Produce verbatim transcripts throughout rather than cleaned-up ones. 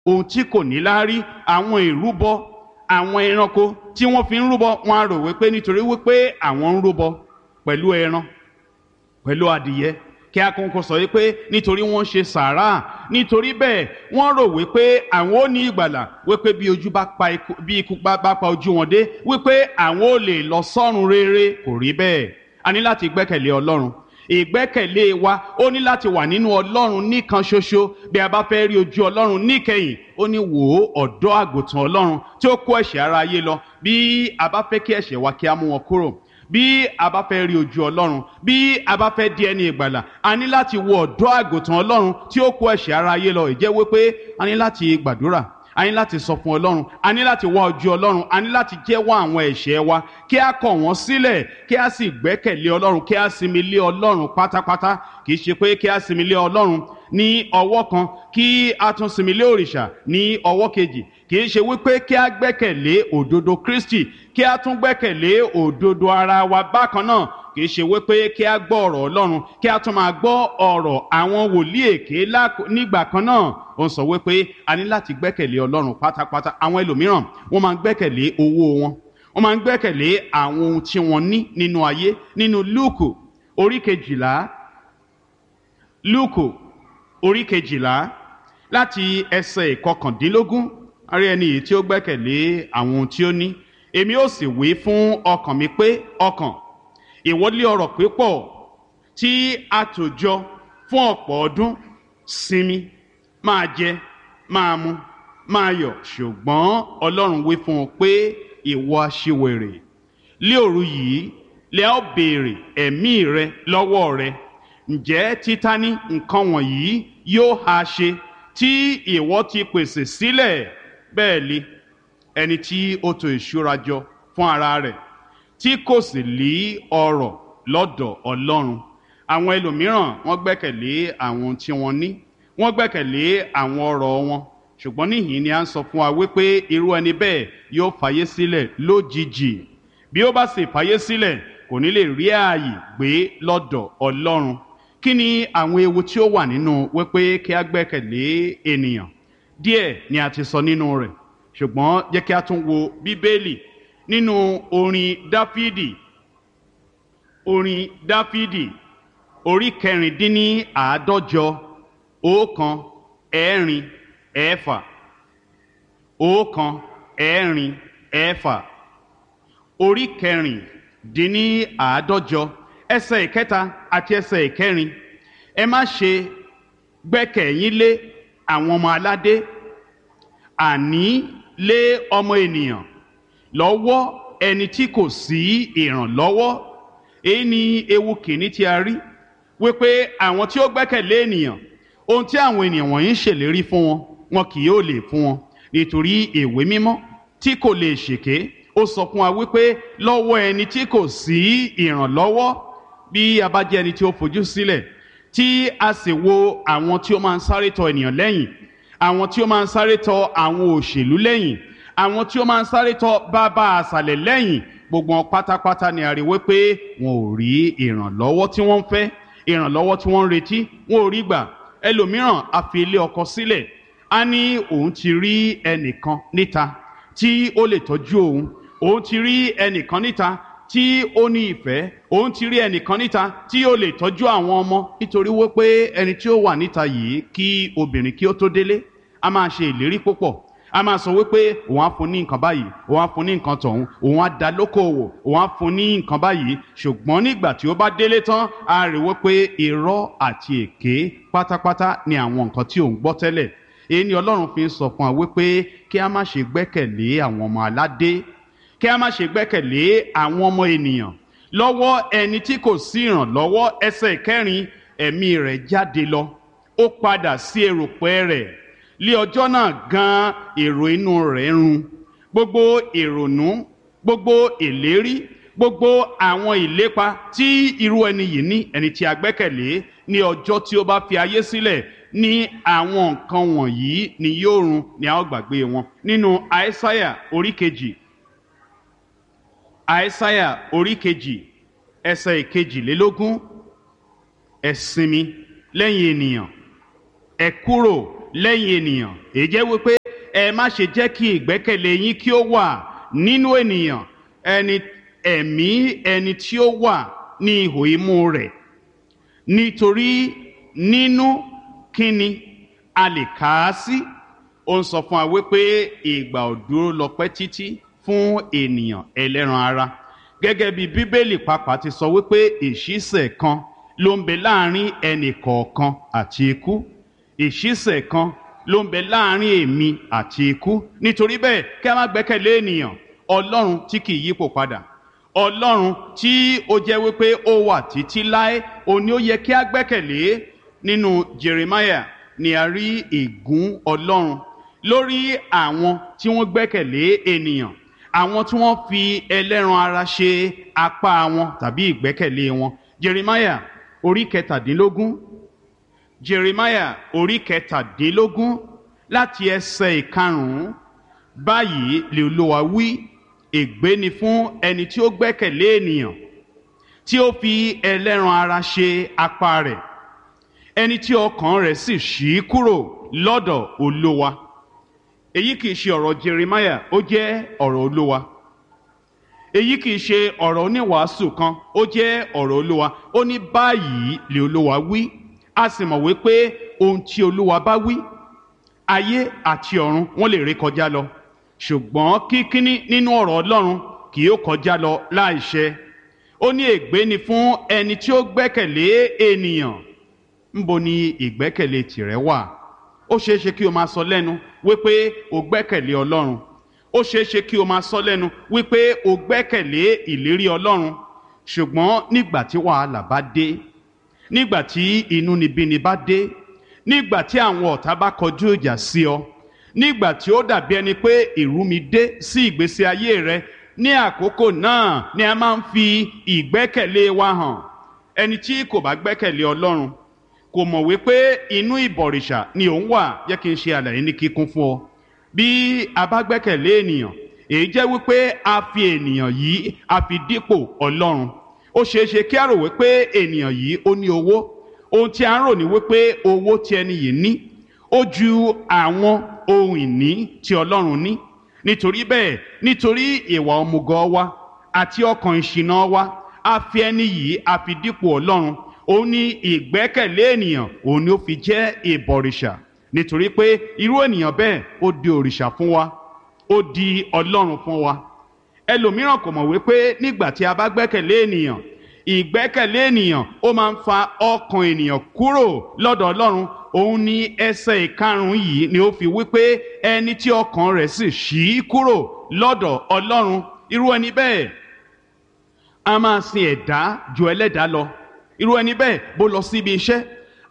Ohun tí kò ní láárí, àwọn ìrúbọ, àwọn ẹranko tí wọ́n fi ń rúbọ, wọ́n á rò wípé nítorí wípé àwọn ń rúbọ pẹ̀lú ẹran, pẹ̀lú adìyẹ, kí akókò sọ wípé nítorí wọ́n ṣe sàárà, nítorí bẹ́ẹ̀ wọ́n rò wípé àwọn ò ní ìgbàlà, wípé bí ojú bá pa ikú, bí ikú bá pa ojú wọn dé, wípé àwọn ò lè lọ sọ́run rere. Kò rí bẹ́ẹ̀. A ní láti gbẹ́kẹ̀lé Ọlọ́run. Ìgbẹ́kẹ̀lé wa ó ní láti wà nínú Ọlọ́run nìkan ṣoṣo. Bí a bá fẹ́ rí ojú Ọlọ́run níkẹyìn, ó ní wò ó, ọ̀dọ́ àgùntàn Ọlọ́run tí ó kó ẹ̀ṣẹ̀ ara ayé lọ. Bí a bá fẹ́ kí ẹ̀ṣẹ̀ wa kí a mú wọn kúrò, bí a bá fẹ́ rí ojú Ọlọ́run, bí a bá fẹ́ di ẹni ìgbàlà, a ní láti wo ọ̀dọ́ àgùntàn Ọlọ́run tí ó kó ẹ̀ṣẹ̀ ara ayé lọ. Ìjẹ́ wípé a ní láti gbàdúrà, a ní láti sọ fún Ọlọ́run, a ní láti wá ojú Ọlọ́run, a ní láti jẹ́wọ́ àwọn ẹ̀ṣẹ̀ wa, kí a kọ̀ wọ́n sílẹ̀, kí a sì gbẹ́kẹ̀lé Ọlọ́run, kí a sinmi lé Ọlọ́run pátápátá. Kì í ṣe pé kí a sinmi lé Ọlọ́run ní ọwọ́ kan, kí a tún sinmi lé òrìṣà ní ọwọ́ kejì. Kì í ṣe wípé kí a gbẹ́kẹ̀lé òdodo Kristi, kí a tún gbẹ́kẹ̀lé òdodo ara wa bákan náà. Kì í ṣe wípé kí a gbọ́ ọ̀rọ̀ Ọlọ́run, kí a tún máa gbọ́ ọ̀rọ̀ àwọn wòlíì èké nígbà kan náà. Ó ń sọ wípé a ní láti gbẹ́kẹ̀lé Ọlọ́run pátápátá. Àwọn ẹlòmíràn wọ́n máa ń gbẹ́kẹ̀lé owó wọn, wọ́n máa ń gbẹ́kẹ̀lé àwọn ohun tí wọ́n ní nínú ayé. Nínú Lúùkù orí kejìlá, Lúùkù orí kejìlá láti ẹsẹ̀ ìkọkàndínlógún, a rí ẹni yìí tí ó gbẹ́kẹ̀lé àwọn ohun tí ó ní. Èmi ó sì wí fún ọkàn mi pé, ọkàn, ìwọ lé ọrọ̀ pípọ̀ tí a tò jọ fún ọ̀pọ̀ ọdún, sinmi, máa jẹ, máa mu, máa yọ̀. Ṣùgbọ́n Ọlọ́run wí fún un pé, ìwọ aṣiwèrè, lé òru yìí lẹ ó béèrè ẹ̀mí rẹ lọ́wọ́ rẹ. Ǹjẹ́ títa ní nǹkan wọ̀nyí yóò ha ṣe tí ìwọ ti pèsè sílẹ̀? Bẹ́ẹ̀ li ẹni tí ó tò ìṣúra jọ fún ara rẹ̀, tí kò sì lí ọrọ̀ lọ́dọ̀ Ọlọ́run. Àwọn ẹlòmíràn wọ́n gbẹ́kẹ̀lé àwọn tí wọ́n ní, wọ́n gbẹ́kẹ̀lé àwọn ọrọ̀ wọn. Ṣùgbọ́n níhìn ni a ń sọ fún wa wípé irú ẹni bẹ́ẹ̀ yóò fàyè sílẹ̀ lójijì. Bí ó bá sì fàyè sílẹ̀, kò ní lè rí ààyè gbé lọ́dọ̀ Ọlọ́run. Kí ni àwọn ewu tí ó wà nínú wípé kí a gbẹ́kẹ̀lé ènìyàn? Díẹ̀ ni a ti sọ nínú rẹ̀, ṣùgbọ́n jẹ́ kí a tún wo Bíbélì nínú orin Dáfídì, orin Dáfídì orí kẹrìndínláàádọ́jọ, ọ̀kan ẹ̀rin ẹ̀fà, ọ̀kan ẹ̀rin ẹ̀fà, orí kẹrìndínláàádọ́jọ, ẹsẹ̀ ìkẹta àti ẹsẹ̀ ìkẹrin. Ẹ má ṣe gbẹ́kẹ̀yín lé àwọn ọmọ aládé, àní lé ọmọ ènìyàn lọ́wọ́ ẹni tí kò sí ìrànlọ́wọ́. Èyí ni ewu kìíní tí a rí, wípé àwọn tí ó gbẹ́kẹ̀lé ènìyàn, ohun tí àwọn ènìyàn wọ̀nyí ń ṣèlérí fún wọn, wọn kì yóò lè fún wọn, nítorí ìwé mímọ́ tí kò lè ṣèké ó sọ fún wa wípé lọ́wọ́ ẹni tí kò sí ìrànlọ́wọ́. Bí a bá jẹ́ ẹni tí ó fojú sílẹ̀, tí a sì wo àwọn tí ó máa ń sáré tọ ènìyàn lẹ́yìn, àwọn tí ó máa ń sáré tọ àwọn òṣèlú lẹ́yìn, àwọn tí ó máa ń sáré tọ bàbá àṣàlẹ̀ lẹ́yìn, gbogbo wọn pátápátá ni a rí wípé wọn ò rí ìrànlọ́wọ́ tí wọ́n ń fẹ́, ìrànlọ́wọ́ tí wọ́n ń retí, wọn ò rí gbà. Ẹlòmíràn a fi ilé ọkọ sílẹ̀, a ní òun ti rí ẹnìkan níta tí ó lè tọ́jú òun, òun ti rí ẹnìkan níta tí ó ní ìfẹ́, òun ti rí ẹnìkan níta tí ó lè tọ́jú àwọn ọmọ. Nítorí wípé ẹni tí ó wà níta yìí, kí obìnrin kí ó tó délé, a máa ṣe ìlérí púpọ̀, a máa sọ wípé òun á fún ní nǹkan báyìí, òun á fún ní nǹkan tọ̀hún, òun á da lókòwò, òun á fún ní nǹkan báyìí. Ṣùgbọ́n nígbà tí ó bá délé tán, a rí wípé irọ́ àti èké pátápátá ni àwọn nǹkan tí òun gbọ́ tẹ́lẹ̀. Èyí ni Ọlọ́run fi ń sọ fún wa wípé kí a má ṣe gbẹ́kẹ̀lé àwọn ọmọ aládé, kí a má ṣe gbẹ́kẹ̀lé àwọn ọmọ ènìyàn lọ́wọ́ ẹni tí kò sí ìrànlọ́wọ́. Ẹsẹ̀ kẹrin, ẹ̀mí rẹ̀ jáde lọ, ó padà sí erùpẹ̀ rẹ̀, lé ọjọ́ náà gan èrò inú rẹ̀ run. Gbogbo ìrònú, gbogbo ìlérí, gbogbo àwọn ìlépa tí irú ẹni yìí ní, ẹni tí a gbẹ́kẹ̀lé, ní ọjọ́ tí ó bá fi ayé sílẹ̀ ní àwọn nǹkan wọ̀nyí ni yóò run, ni a ó gbàgbé wọn. Nínú Àìsáyà orí kejì, Àìsáyà orí kejì ẹsẹ̀ ìkejìlélógún, ẹ sinmi lẹ́yìn ènìyàn, ẹ kúrò lẹ́yìn ènìyàn. Èyí jẹ́ wípé ẹ má ṣe jẹ́ kí ìgbẹ́kẹ̀lé yín kí ó wà nínú ènìyàn, ẹni ẹ̀mí ẹni tí ó wà ní ihò imú rẹ̀, nítorí nínú kíni a lè kà á sí. Ó ń sọ fún wa wípé ìgbà ò dúró lọ́pẹ́ títí fún ènìyàn ẹlẹ́ran ara, gẹ́gẹ́ bí Bíbélì pàápàá ti sọ wípé ìṣísẹ̀ kan ló ń bẹ láàrin ẹnì kọ̀ọ̀kan àti ikú. Ìṣísẹ̀ kan ló ń bẹ láàrin èmi àti ikú. Nítorí bẹ́ẹ̀, kí a má gbẹ́kẹ̀lé ènìyàn. Ọlọ́run tí kì í yípo padà, Ọlọ́run tí ó jẹ́ wípé ó wà títí láé, òun ni ó yẹ kí a gbẹ́kẹ̀lé. Nínú Jeremiah ni a rí ègún Ọlọ́run lórí àwọn tí wọ́n gbẹ́kẹ̀lé ènìyàn, àwọn tí wọ́n fi ẹlẹ́ran ara ṣe apá wọn tàbí ìgbẹ́kẹ̀lé wọn. Jeremiah orí kẹtàdínlógún, Jeremiah orí kẹtàdínlógún láti ẹsẹ̀ ìkarùn-ún. Báyìí lè Olúwa wí, ègbé ni fún ẹni tí ó gbẹ́kẹ̀lé ènìyàn, tí ó fi ẹlẹ́ran ara ṣe apá rẹ̀, ẹni tí ọkàn rẹ̀ sì ṣí kúrò lọ́dọ̀ Olúwa. Èyí kìí ṣe ọ̀rọ̀ Jeremiah, ó jẹ́ ọ̀rọ̀ Olúwa. Èyí kìí ṣe ọ̀rọ̀ oníwàásù kan, ó jẹ́ ọ̀rọ̀ Olúwa. Ó ní báyìí lè Olúwa wí. A sì mọ̀ wípé ohun tí Olúwa bá wí, ayé àti ọ̀run wọ́n lè ré kọjá lọ, ṣùgbọ́n kíkíní nínú ọ̀rọ̀ Ọlọ́run kì yóò kọjá lọ láìṣẹ. Ó ní ègbé ni fún ẹni tí ó gbẹ́kẹ̀lé ènìyàn. Ńbo ni ìgbẹ́kẹ̀lé tìrẹ wà? Ó ṣeé ṣe kí o máa sọ lẹ́nu wípé o gbẹ́kẹ̀lé Ọlọ́run. Ó ṣeé ṣe kí o máa sọ lẹ́nu wípé o gbẹ́kẹ̀lé ìlérí Ọlọ́run. Ṣùgbọ́n nígbà tí wàhálà bá dé, nígbà tí inúnibíni bá dé, nígbà tí àwọn ọ̀tá bá kọjú ìjà sí ọ, nígbà tí ó dàbí ẹni pé ìrúmi dé sí ìgbésí ayé rẹ, ní àkókò náà ni a máa ń fi ìgbẹ́kẹ̀lé wa hàn. Ẹni tí kò bá gbẹ́kẹ̀lé Ọlọ́run kò mọ̀ wípé inú ìbọ̀rìṣà ni òun wà. Jẹ́ kí n ṣe àlàyé ní kíkún fún ọ. Bí a bá gbẹ́kẹ̀lé ènìyàn, èyí jẹ́ wípé a fi ènìyàn yìí a fi dípò Ọlọ́run. Ó ṣeé ṣe kí a rò wípé ènìyàn yìí ó ní owó. Ohun tí a ń rò ní wípé owó tí ẹni yìí ní ó ju àwọn ohun ìní tí Ọlọ́run ní. Nítorí bẹ́ẹ̀, nítorí ìwà òmùgọ̀ wa àti ọkàn ìṣìnà wa, a fi ẹni yìí a fi dípò Ọlọ́run. Òun ní ìgbẹ́kẹ̀lé ènìyàn, òun ni ó fi jẹ́ ìbọ̀rìṣà. Nítorí pé irú ènìyàn bẹ́ẹ̀ ó di òrìṣà fún wa, ó di Ọlọ́run fún wa. Ẹlòmíràn kò mọ̀ wípé nígbà tí a bá gbẹ́kẹ̀lé ènìyàn, ìgbẹ́kẹ̀lé ènìyàn ó máa ń fa ọkàn ènìyàn kúrò lọ́dọ̀ Ọlọ́run. Òun ní ẹsẹ̀ ìkarùn-ún yìí ni ó fi wípé ẹni tí ọkàn rẹ̀ sì ṣí kúrò lọ́dọ̀ Ọlọ́run, irú ẹni bẹ́ẹ̀ a máa sin ẹ̀dá ju ẹlẹ́dàá lọ. Irú ẹni bẹ́ẹ̀ bó lọ síbi iṣẹ́,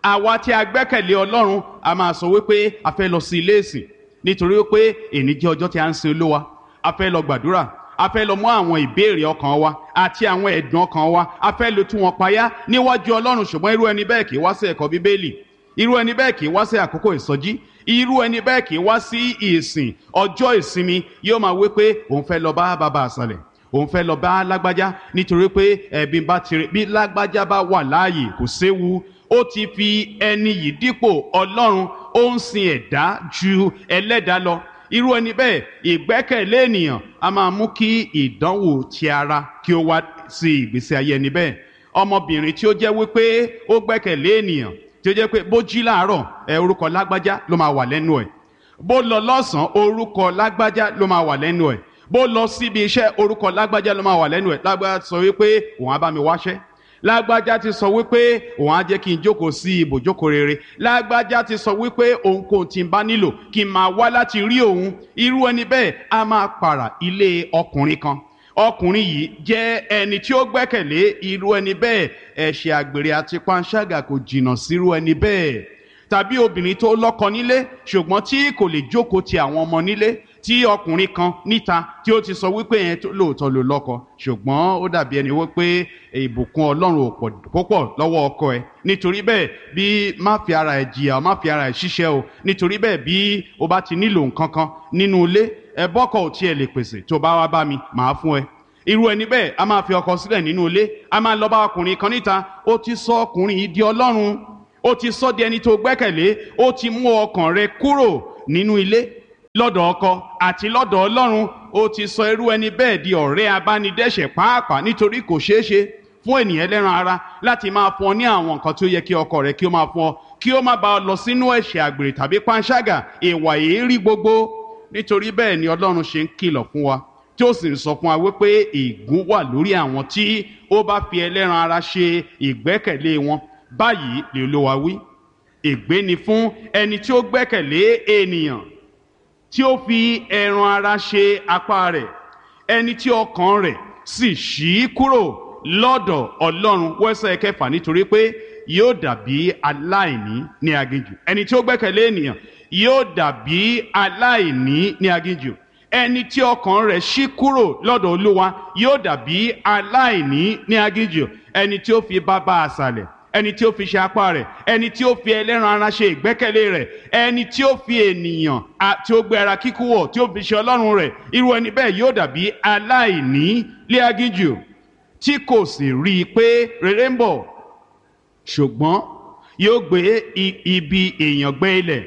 àwa tí a gbẹ́kẹ̀lé Ọlọ́run a máa sọ wípé a fẹ́ lọ sí ilé ìsìn, nítorí wípé èní jẹ́ ọjọ́ tí a ń sin Olúwa. A fẹ́ lọ gbàdúrà, a fẹ́ lọ mú àwọn ìbéèrè ọkàn wa àti àwọn ẹ̀dùn ọkàn wa, a fẹ́ lọ tú wọn payá níwájú Ọlọ́run. Ṣùgbọ́n irú ẹni bẹ́ẹ̀ kì í wá sí ẹ̀kọ́ Bíbélì, irú ẹni bẹ́ẹ̀ kì í wá sí àkókò ìsọjí, irú ẹni bẹ́ẹ̀ kì í wá sí ìsìn ọjọ́ ìsinmi. Yóò máa wí pé òun fẹ́ lọ bá bàbá àṣàlẹ̀, òun fẹ́ lọ bá lágbájá, nítorí pé ẹ̀bí bá tirẹ̀ bí lágbájá bá wà láàyè kò séwu. Ó ti fi ẹni yìí dípò Ọlọ́run, ó ń sin ẹ̀dá ju ẹlẹ́dàá lọ. Irú ẹni bẹ́ẹ̀, ìgbẹ́kẹ̀lé ènìyàn a máa mú kí ìdánwò ti ara kí ó wá sí ìgbésí ayé ẹni bẹ́ẹ̀. Ọmọbìnrin tí ó jẹ́ wípé ó gbẹ́kẹ̀lé ènìyàn, tí ó jẹ́ pé bó jí láàárọ̀, ẹ orúkọ lágbájá ló máa wà lẹ́nu ẹ̀. Bó lọ lọ́sàn-án, orúkọ lágbájá ló máa wà lẹ́nu ẹ̀. Bó lọ síbi iṣẹ́, orúkọ lágbájá ló máa wà lẹ́nu ẹ̀. Lágbájá sọ wípé òun á bá mi wáṣẹ́. Lágbájá ti sọ wípé òun á jẹ́ kí n jókòó sí ibùjókòó rere. Lágbájá ti sọ wípé ohunkóhun tí n bá nílò kí n máa wá láti rí òun. Irú ẹni bẹ́ẹ̀ á máa pààrà ilé ọkùnrin kan. Ọkùnrin yìí jẹ́ ẹni tí ó gbẹ́kẹ̀lé irú ẹni bẹ́ẹ̀. Ẹ̀ṣẹ̀ àgbèrè àti panṣágà kò jìnnà sírú ẹni bẹ́ẹ̀. Tàbí obìnrin tó lọ́kọ nílé ṣùgbọ́n tí kò lè jókòó ti àwọn ọmọ nílé, tí ọkùnrin kan níta tí ó ti sọ wípé yẹn lóòótọ́ ló lọ́kọ, ṣùgbọ́n ó dàbí ẹni wípé ìbùkún Ọlọ́run ò pọ̀ púpọ̀ lọ́wọ́ ọkọ ẹ̀. Nítorí bẹ́ẹ̀, bí má fi ara ẹ̀ jìyà, má fi ara ẹ̀ ṣiṣẹ́ o. Nítorí bẹ́ẹ̀, bí o bá ti nílò nǹkan kan nínú ilé, ẹ bọ́kọ̀ ò tiẹ̀ lè pèsè, tó bá wá bá mi màá fún ẹ. Irú ẹni bẹ́ẹ̀ a máa fi ọkọ sílẹ̀ nínú ilé, a máa lọ bá ọkùnrin kan níta. Ó ti sọ ọkùnrin yìí di Ọlọ́run, ó ti sọ di ẹni tó gbẹ́kẹ̀lé, ó ti mú ọkàn rẹ kúrò nínú ilé lọ́dọ̀ ọkọ àti lọ́dọ̀ Ọlọ́run. Ó ti sọ irú ẹni bẹ́ẹ̀ di ọ̀rẹ́ abánidẹ́ṣẹ̀ pàápàá, nítorí kò ṣeé ṣe fún ènìyàn ẹlẹ́ran ara láti máa fún ọ ní àwọn nǹkan tí ó yẹ kí ọkọ rẹ kí ó máa fún ọ, kí ó má bá ọ lọ sínú ẹ̀ṣẹ̀ àgbèrè tàbí panṣágà, ìwà èérí gbogbo. Nítorí bẹ́ẹ̀ ni Ọlọ́run ṣe ń kìlọ̀ fún wa, tí ó sì ń sọ fún wa wípé ègún wà lórí àwọn tí ó bá fi ẹlẹ́ran ara ṣe ìgbẹ́kẹ̀lé wọn. Báyìí lè Olúwa wí, ègbé ni fún ẹni tí ó gbẹ́kẹ̀lé ènìyàn, tí ó fi ẹran ara ṣe apá rẹ̀, ẹni tí ọkàn rẹ̀ sì ṣí kúrò lọ́dọ̀ Ọlọ́run. Wẹ́sẹ̀ kẹfà, nítorí pé yóò dàbí aláìní ní aginjù. Ẹni tí ó gbẹ́kẹ̀lé ènìyàn yóò dàbí aláìní ní aginjù. Ẹni tí ọkàn rẹ̀ ṣí kúrò lọ́dọ̀ Olúwa yóò dàbí aláìní ní aginjù. Ẹni tí ó fi bàbá àṣàlẹ̀, ẹni tí ó fi ṣe apá rẹ̀, ẹni tí ó fi ẹlẹ́ran ara ṣe ìgbẹ́kẹ̀lé rẹ̀, ẹni tí ó fi ènìyàn tí ó gbé ara kíkú wọ̀ tí ó fi ṣe Ọlọ́run rẹ̀, irú ẹni bẹ́ẹ̀ yóò dàbí aláìní lé aginjù, tí kò sì rí i pé rere ń bọ̀, ṣùgbọ́n yóò gbé ibi èèyàn gbẹ́ ilẹ̀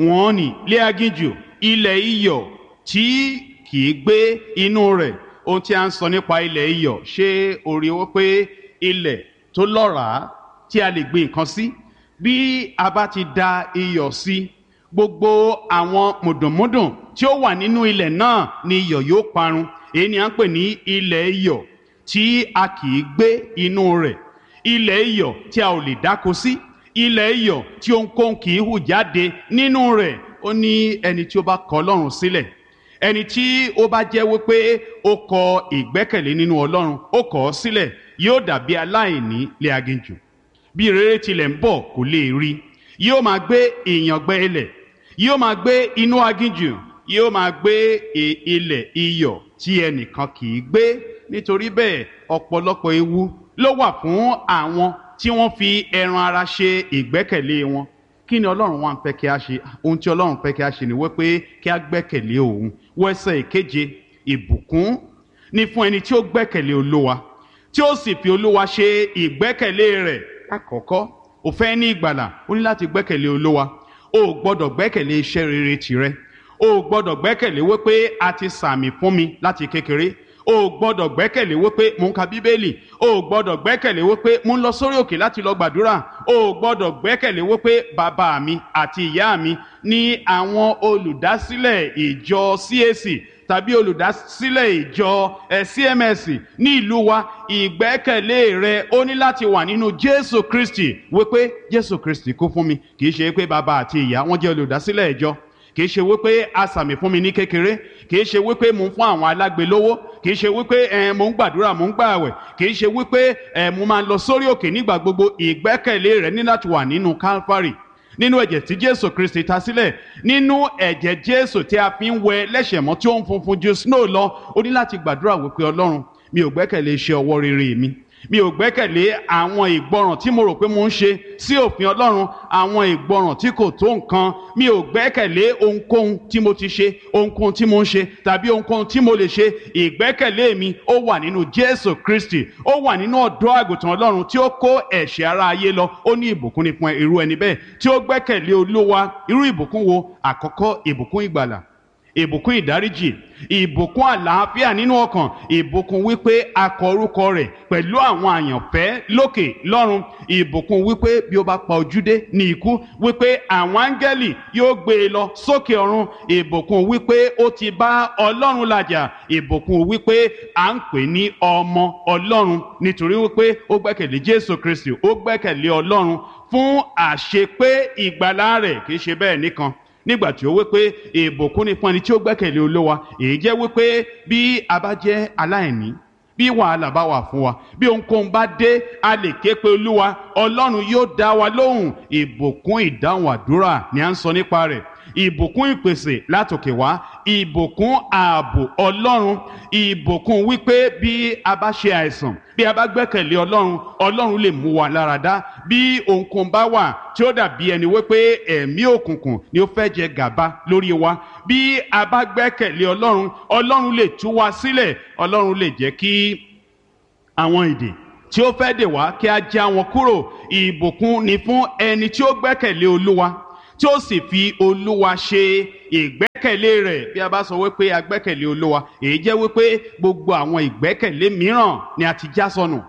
wọ́n ní lé aginjù, ilẹ̀ iyọ̀ tí kì í gbé inú rẹ̀. Ohun tí a ń sọ nípa ilẹ̀ iyọ̀, ṣé o rí wọ́n pé ilẹ̀ tó lọ́ràá tí a lè gbin nǹkan sí, bí a bá ti da iyọ̀ sí, gbogbo àwọn mùdùnmúdùn tí ó wà nínú ilẹ̀ náà ni iyọ̀ yóò parun. Èyí ni à ń pè ní ilẹ̀ iyọ̀ tí a kì í gbé inú rẹ̀, ilẹ̀ iyọ̀ tí a ò lè dáko sí, ilẹ̀ iyọ̀ tí ohunkóhun kì í hù jáde nínú rẹ̀. Ó ní ẹni tí ó bá kọ̀ Ọlọ́run sílẹ̀, ẹni tí ó bá jẹ́ wípé ó kọ ìgbẹ́kẹ̀lé nínú Ọlọ́run, ó kọ̀ ọ́ sílẹ̀, yóò dàbí aláìní lé aginjù. Bí rere tilẹ̀ ń bọ̀ kò lè rí, yóò máa gbé ìyàngbẹ ilẹ̀, yóò máa gbé inú aginjù, yóò máa gbé ilẹ̀ iyọ̀ tí ẹnìkan kì í gbé. Nítorí bẹ́ẹ̀ ọ̀pọ̀lọpọ̀ ewu ló wà fún àwọn tí wọ́n fi ẹran ara ṣe ìgbẹ́kẹ̀lé wọn. Kí ni Ọlọ́run wá ń fẹ́ kí a ṣe? Ohun tí Ọlọ́run fẹ́ kí a ṣe ni wípé kí a gbẹ́kẹ̀lé òun. Wẹ́sẹ̀ ìkeje, ìbùkún ni fún ẹni tí ó gbẹ́kẹ̀lé Olúwa, tí ó sì fi Olúwa ṣe ìgbẹ́kẹ̀lé rẹ̀. Àkọ́kọ́, o fẹ́ ní ìgbàlà, o ní láti gbẹ́kẹ̀lé Olúwa. O ò gbọ́dọ̀ gbẹ́kẹ̀lé iṣẹ́ rere tìrẹ. O ò gbọ́dọ̀ gbẹ́kẹ̀lé wípé a ti sàmì fún mi láti kékeré. O ò gbọ́dọ̀ gbẹ́kẹ̀lé wípé mò ń ka Bíbélì. O ò gbọ́dọ̀ gbẹ́kẹ̀lé wípé mò ń lọ sórí òkè láti lọ gbàdúrà. O ò gbọ́dọ̀ gbẹ́kẹ̀lé wípé bàbá mi àti ìyá mi ní àwọn olùdásílẹ̀ ìjọ C A C tàbí olùdásílẹ̀ ìjọ C M S ní ìlú wa. Ìgbẹ́kẹ̀lé rẹ ó ní láti wà nínú Jésù Kristi, wípé Jésù Kristi kú fún mi. Kì í ṣe pé bàbá àti ìyá wọn jẹ́ olùdásílẹ̀ ìjọ, kì í ṣe wípé a sàmì fún mi ní kékeré, kì í ṣe wípé mò ń fún àwọn alágbe lówó, kì í ṣe wípé ẹ mò ń gbàdúrà, mò ń gbààwẹ̀, kì í ṣe wípé ẹ mo máa ń lọ sórí òkè nígbà gbogbo. Ìgbẹ́kẹ̀lé rẹ ní láti wà nínú Calvary, nínú ẹ̀jẹ̀ tí Jésù Kristi ta sílẹ̀, nínú ẹ̀jẹ̀ Jésù tí a fi ń wẹ lẹ́ṣẹ̀ mọ́ tí ó ń funfun ju snow lọ. Ó ní láti gbàdúrà wípé Ọlọ́run, mi ò gbẹ́kẹ̀lé iṣẹ́ ọwọ́ rere mi, mi ò gbẹ́kẹ̀lé àwọn ìgbọràn tí mo rò pé mo ń ṣe sí òfin Ọlọ́run, àwọn ìgbọràn tí kò tó nǹkan. Mi ò gbẹ́kẹ̀lé ohunkóhun tí mo ti ṣe, ohunkóhun tí mo ń ṣe tàbí ohunkóhun tí mo lè ṣe. Ìgbẹ́kẹ̀lé mi ó wà nínú Jésù Kristi, ó wà nínú ọ̀dọ́ àgùntàn Ọlọ́run tí ó kó ẹ̀ṣẹ̀ ara ayé lọ. Ó ní ìbùkún ni fún irú ẹni bẹ́ẹ̀ tí ó gbẹ́kẹ̀lé Olúwa. Irú ìbùkún wo? Àkọ́kọ́, ìbùkún ìgbàlà, ìbùkún ìdáríjì, ìbùkún àlàáfíà nínú ọkàn, ìbùkún wípé a kọ orúkọ rẹ̀ pẹ̀lú àwọn àyànfẹ́ lókè lọ́run, ìbùkún wípé bí ó bá pa ojú dé ní ikú, wípé àwọn áńgẹ́lì yóò gbé e lọ sókè ọ̀run, ìbùkún wípé ó ti bá Ọlọ́run làjà, ìbùkún wípé à ń pè ní ọmọ Ọlọ́run, nítorí wípé ó gbẹ́kẹ̀lé Jésù Kristi, ó gbẹ́kẹ̀lé Ọlọ́run fún àṣepé ìgbàlà rẹ̀. Kì í ṣe bẹ́ẹ̀ nìkan, nígbà tí ó wí pé ìbùkún ni fún ẹni tí ó gbẹ́kẹ̀lé Olúwa, èyí jẹ́ wípé bí a bá jẹ́ aláìní, bí wàhálà bá wà fún wa, bí ohunkóhun bá dé, a lè ké pe Olúwa, Ọlọ́run yóò dá wa lóhùn. Ìbùkún ìdáhùn àdúrà ni à ń sọ nípa rẹ̀, ìbùkún ìpèsè látòkè wá, ìbùkún ààbò Ọlọ́run, ìbùkún wípé bí a bá ṣe àìsàn, bí a bá gbẹ́kẹ̀lé Ọlọ́run, Ọlọ́run lè mú wa lára dá. Bí ohunkóhun bá wà tí ó dàbí ẹni wípé ẹ̀mí òkùnkùn ni ó fẹ́ jẹ gàba lórí wa, bí a bá gbẹ́kẹ̀lé Ọlọ́run, Ọlọ́run lè tú wa sílẹ̀, Ọlọ́run lè jẹ́ kí àwọn ìdè tí ó fẹ́ dè wá kí a já wọn kúrò. Ìbùkún ni fún ẹni tí ó gbẹ́kẹ̀lé Olúwa, tí ó sì fi Olúwa ṣe ìgbẹ́kẹ̀lé. Ìgbẹ́kẹ̀lé rẹ̀. Bí a bá sọ wípé a gbẹ́kẹ̀lé Olúwa, èyí jẹ́ wípé gbogbo àwọn ìgbẹ́kẹ̀lé mìíràn ni a ti já sọnù.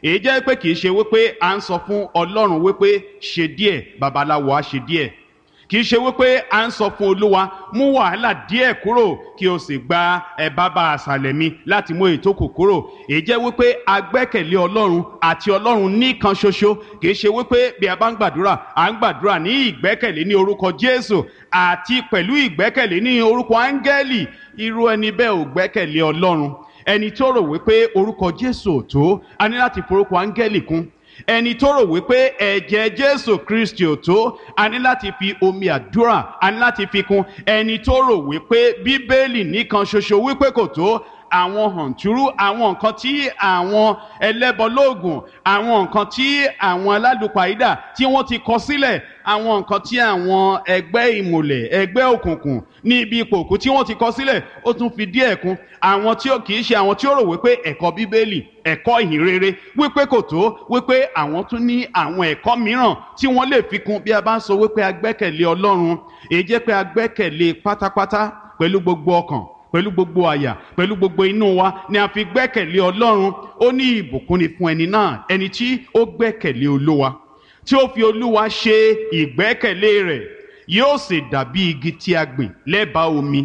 Èyí jẹ́ pé kì í ṣe wípé à ń sọ fún Ọlọ́run wípé ṣe díẹ̀, babaláwo á ṣe díẹ̀. Kì í ṣe wípé à ń sọ fún Olúwa mú wàhálà díẹ̀ kúrò kí o sì gba ẹ bàbá àṣàlẹ̀ mi láti mú èyí tó kù kúrò. Èyí jẹ́ wípé a gbẹ́kẹ̀lé Ọlọ́run àti Ọlọ́run nìkan ṣoṣo. Kì í ṣe wípé bí a bá ń gbàdúrà, à ń gbàdúrà ní ìgbẹ́kẹ̀lé ní orúkọ Jésù àti pẹ̀lú ìgbẹ́kẹ̀lé ní orúkọ áńgẹ́lì. Irú ẹni bẹ́ẹ̀ ò gbẹ́kẹ̀lé Ọlọ́run. Ẹni tó rò wípé orúkọ Jésù ò tó, a ní láti forúkọ áńgẹ́lì kún. Ẹni tó rò wípé ẹ̀jẹ̀ Jésù Kristi ò tó, a ní láti fi omi àdúrà, a ní láti fi kún. Ẹni tó rò wípé Bíbélì nìkan ṣoṣo wípé kò tó, àwọn hàntúrú, àwọn nǹkan tí àwọn ẹlẹ́bọlóògùn, àwọn nǹkan tí àwọn alálùpàídà tí wọ́n ti kọ sílẹ̀, àwọn nǹkan tí àwọn ẹgbẹ́ ìmùlẹ̀, ẹgbẹ́ òkùnkùn ní ibi ipò òkú tí wọ́n ti kọ sílẹ̀, ó tún fi díẹ̀ kún. Àwọn tí ó kì í ṣe àwọn tí ó rò wípé ẹ̀kọ́ Bíbélì, ẹ̀kọ́ ìhìnrere wípé kò tó, wípé àwọn tún ní àwọn ẹ̀kọ́ mìíràn tí wọ́n lè fi kún. Bí a bá ń sọ wípé a gbẹ́kẹ̀lé Ọlọ́run, èyí jẹ́ pé a gbẹ́kẹ̀lé pátápátá pẹ̀lú gbogbo ọkàn, pẹ̀lú gbogbo àyà, pẹ̀lú gbogbo inú wa ni a fi gbẹ́kẹ̀lé Ọlọ́run. Ó ní ìbùkún ni fún ẹni náà, ẹni tí ó gbẹ́kẹ̀lé Olúwa, tí ó fi Olúwa ṣe ìgbẹ́kẹ̀lé rẹ̀. Yóò sì dàbí igi tí a gbìn lẹ́bàá omi,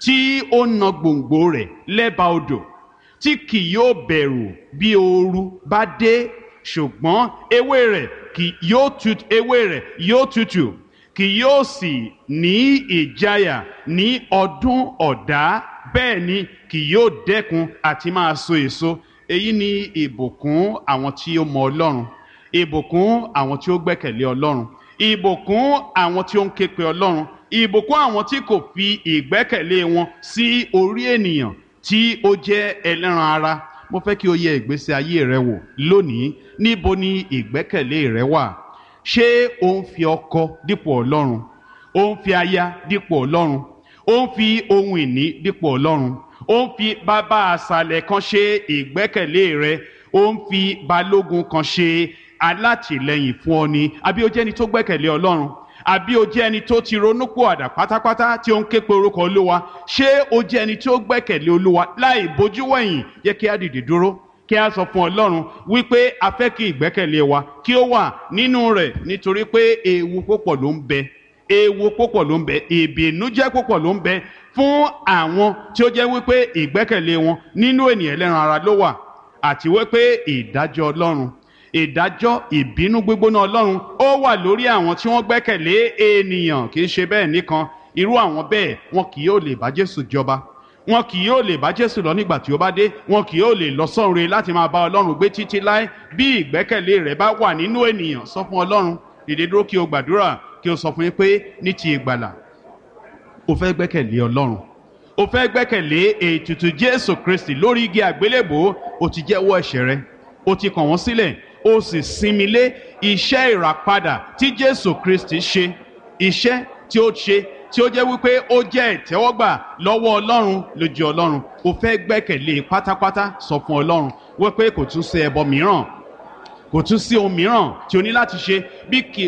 tí ó na gbòǹgbò rẹ̀ lẹ́bàá odò, tí kì yóò bẹ̀rù bí ooru bá dé, ṣùgbọ́n ewé rẹ̀ kì yóò tutù, ewé rẹ̀ yóò tutù, kì yóò sì ní ìjayà ní ọdún ọ̀dá, bẹ́ẹ̀ ni kì yóò dẹ́kun àti máa so èso. Èyí ni ìbùkún àwọn tí ó mọ Ọlọ́run, ìbùkún àwọn tí ó gbẹ́kẹ̀lé Ọlọ́run, ìbùkún àwọn tí ó ń képe Ọlọ́run, ìbùkún àwọn tí kò fi ìgbẹ́kẹ̀lé wọn sí orí ènìyàn tí ó jẹ́ ẹlẹ́ran ara. Mo fẹ́ kí o yẹ ìgbésí ayé rẹ wò lónìí. Níbo ni ìgbẹ́kẹ̀lé rẹ wà? Ṣé o ń fi ọkọ dípò Ọlọ́run? O ń fi aya dípò Ọlọ́run? O ń fi ohun ìní dípò Ọlọ́run? O ń fi bàbá àṣàlẹ̀ kan ṣe ìgbẹ́kẹ̀lé rẹ? O ń fi balógun kan ṣe alátìlẹyìn fún ọ ni? Àbí o jẹ́ ẹni tó gbẹ́kẹ̀lé Ọlọ́run? Àbí o jẹ́ ẹni tó ti ronúpìwàdà pátápátá tí ó ń ké pe orúkọ Olúwa? Ṣé o jẹ́ ẹni tó gbẹ́kẹ̀lé Olúwa láì bójú wẹ̀yìn? Yẹ kí a dìde dúró, kí a sọ fún Ọlọ́run wípé a fẹ́ kí ìgbẹ́kẹ̀lé wa kí ó wà nínú rẹ̀, nítorí pé ewu púpọ̀ ló ń bẹ, ewu púpọ̀ ló ń bẹ, ìbìnújẹ́ púpọ̀ ló ń bẹ fún àwọn tí ó jẹ́ wípé ìgbẹ́kẹ̀lé wọn nínú ènìyàn ẹlẹ́ran ara ló wà, àti wípé ìdájọ́ Ọlọ́run, ìdájọ́ ìbínú gbígbóná Ọlọ́run ó wà lórí àwọn tí wọ́n gbẹ́kẹ̀lé ènìyàn. Kì í ṣe bẹ́ẹ̀ nìkan, irú àwọn bẹ́ẹ̀ wọn kì yóò lè bá Jésù jọba, wọn kì yóò lè bá Jésù lọ nígbà tí ó bá dé, wọn kì yóò lè lọ sọ́run láti máa bá Ọlọ́run gbé títí láé. Bí ìgbẹ́kẹ̀lé rẹ̀ bá wà nínú ènìyàn, sọ fún Ọlọ́run, dìde dúró kí o gbàdúrà, kí o sọ fún yín pé ní ti ìgbàlà o fẹ́ gbẹ́kẹ̀lé Ọlọ́run, o fẹ́ gbẹ́kẹ̀lé ètùtù Jésù Kristi lórí igi àgbélébòó. O ti jẹ́wọ́ ẹ̀ṣẹ̀ rẹ, o ti kàn wọ́n sílẹ̀, o sì sinmi lé iṣẹ́ ìràpadà tí Jésù Kristi ṣe, iṣẹ́ tí ó ṣe tí ó jẹ́ wípé ó jẹ́ ìtẹ́wọ́gbà lọ́wọ́ Ọlọ́run, lójú Ọlọ́run. O fẹ́ gbẹ́kẹ̀lé pátápátá. Sọ fún Ọlọ́run wípé kò tún sí ẹbọ mìíràn, kò tún sí ohun mìíràn tí o ní láti ṣe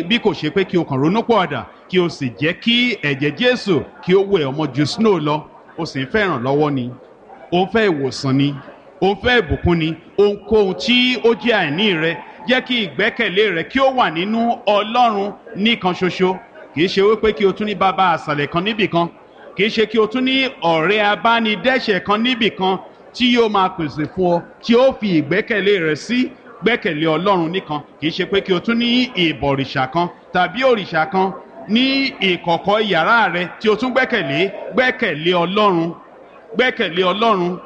bí kò ṣe pé kí o kàn ronú pọ̀àdà, kí o sì jẹ́ kí ẹ̀jẹ̀ Jésù kí ó wẹ̀ ọmọ ju snow lọ. O sì ń fẹ́ ìrànlọ́wọ́ ni, o ń fẹ́ ìwòsàn ni, o ń fẹ́ ìbùkún ni, ohunkóhun tí ó jẹ́ àìní rẹ, jẹ́ kí ìgbẹ́kẹ̀lé rẹ kí ó wà nínú Ọlọ́run nìkan ṣoṣo. Kì í ṣe wípé kí o tún ní bàbá àṣàlẹ̀ kan níbì kan, kì í ṣe kí o tún ní ọ̀rẹ́ abánidẹ́ṣẹ̀ kan níbì kan tí yóò máa pèsè fún ọ tí ó fi ìgbẹ́kẹ̀lé rẹ sí. Gbẹ́kẹ̀lé Ọlọ́run nìkan. Kì í ṣe pé kí o tún ní ìbọ̀rìṣà kan tàbí òrìṣà kan ní ìkọ̀kọ̀ yàrá rẹ tí o tún gbẹ́kẹ̀lé. Gbẹ́kẹ̀lé Ọlọ́run, gbẹ́kẹ̀lé Ọlọ́run,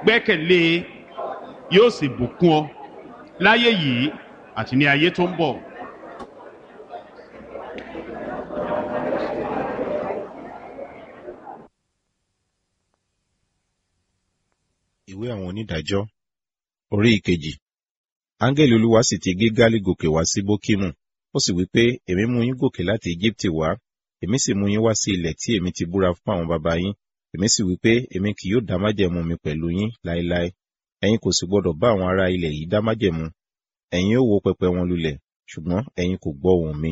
gbẹ́kẹ̀lé, yóò sì bùkún ọ láyé yìí àti ní ayé tó ń bọ̀. Ìwé àwọn onídàájọ́, orí ìkejì. Áńgẹ́lì Olúwa sì ti Gígálì gòkè wá sí Bókímù. Ó sì wí pé, èmi mú yín gòkè láti Íjíbítì wá, èmi sì mú yín wá sí ilẹ̀ tí èmi ti búra fún àwọn baba yín. Èmi sì wí pé, èmi kì yóò dá májẹ̀mú mi pẹ̀lú yín láéláé. Ẹ̀yin kò sì gbọdọ̀ bá àwọn ará ilẹ̀ yìí dá májẹ̀mú. Ẹ̀yin ó wó pẹpẹ wọn lulẹ̀, ṣùgbọ́n ẹ̀yin kò gbọ́ ohùn mi.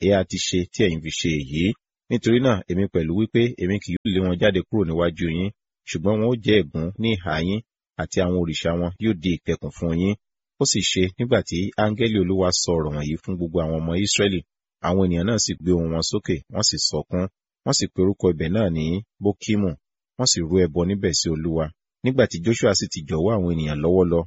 Èéha ti ṣe tí ẹ̀yin fi ṣe èyí? Nítorí náà èmi pẹ̀lú wí pé èmi kì yóò lé wọn jáde kúrò níwájú yín, ṣùgbọ́n wọn ó jẹ́ ègún ní ìhà yín, àti àwọn òrìṣà wọn yóò di ìkẹkùn fún yín. Ó sì ṣe nígbà tí áńgẹ́lì Olúwa sọ ọ̀rọ̀ wọ̀nyí fún gbogbo àwọn ọmọ Ísírẹ́lì, àwọn ènìyàn náà sì gbé ohùn wọn sókè, wọ́n sì sọkún, wọ́n sì pe orúkọ ibẹ̀ náà ní Bókímù, wọ́n sì rú ẹbọ níbẹ̀ sí Olúwa. Nígbà tí Joṣua sì ti jọ̀wọ́ àwọn ènìyàn lọ́wọ́ lọ,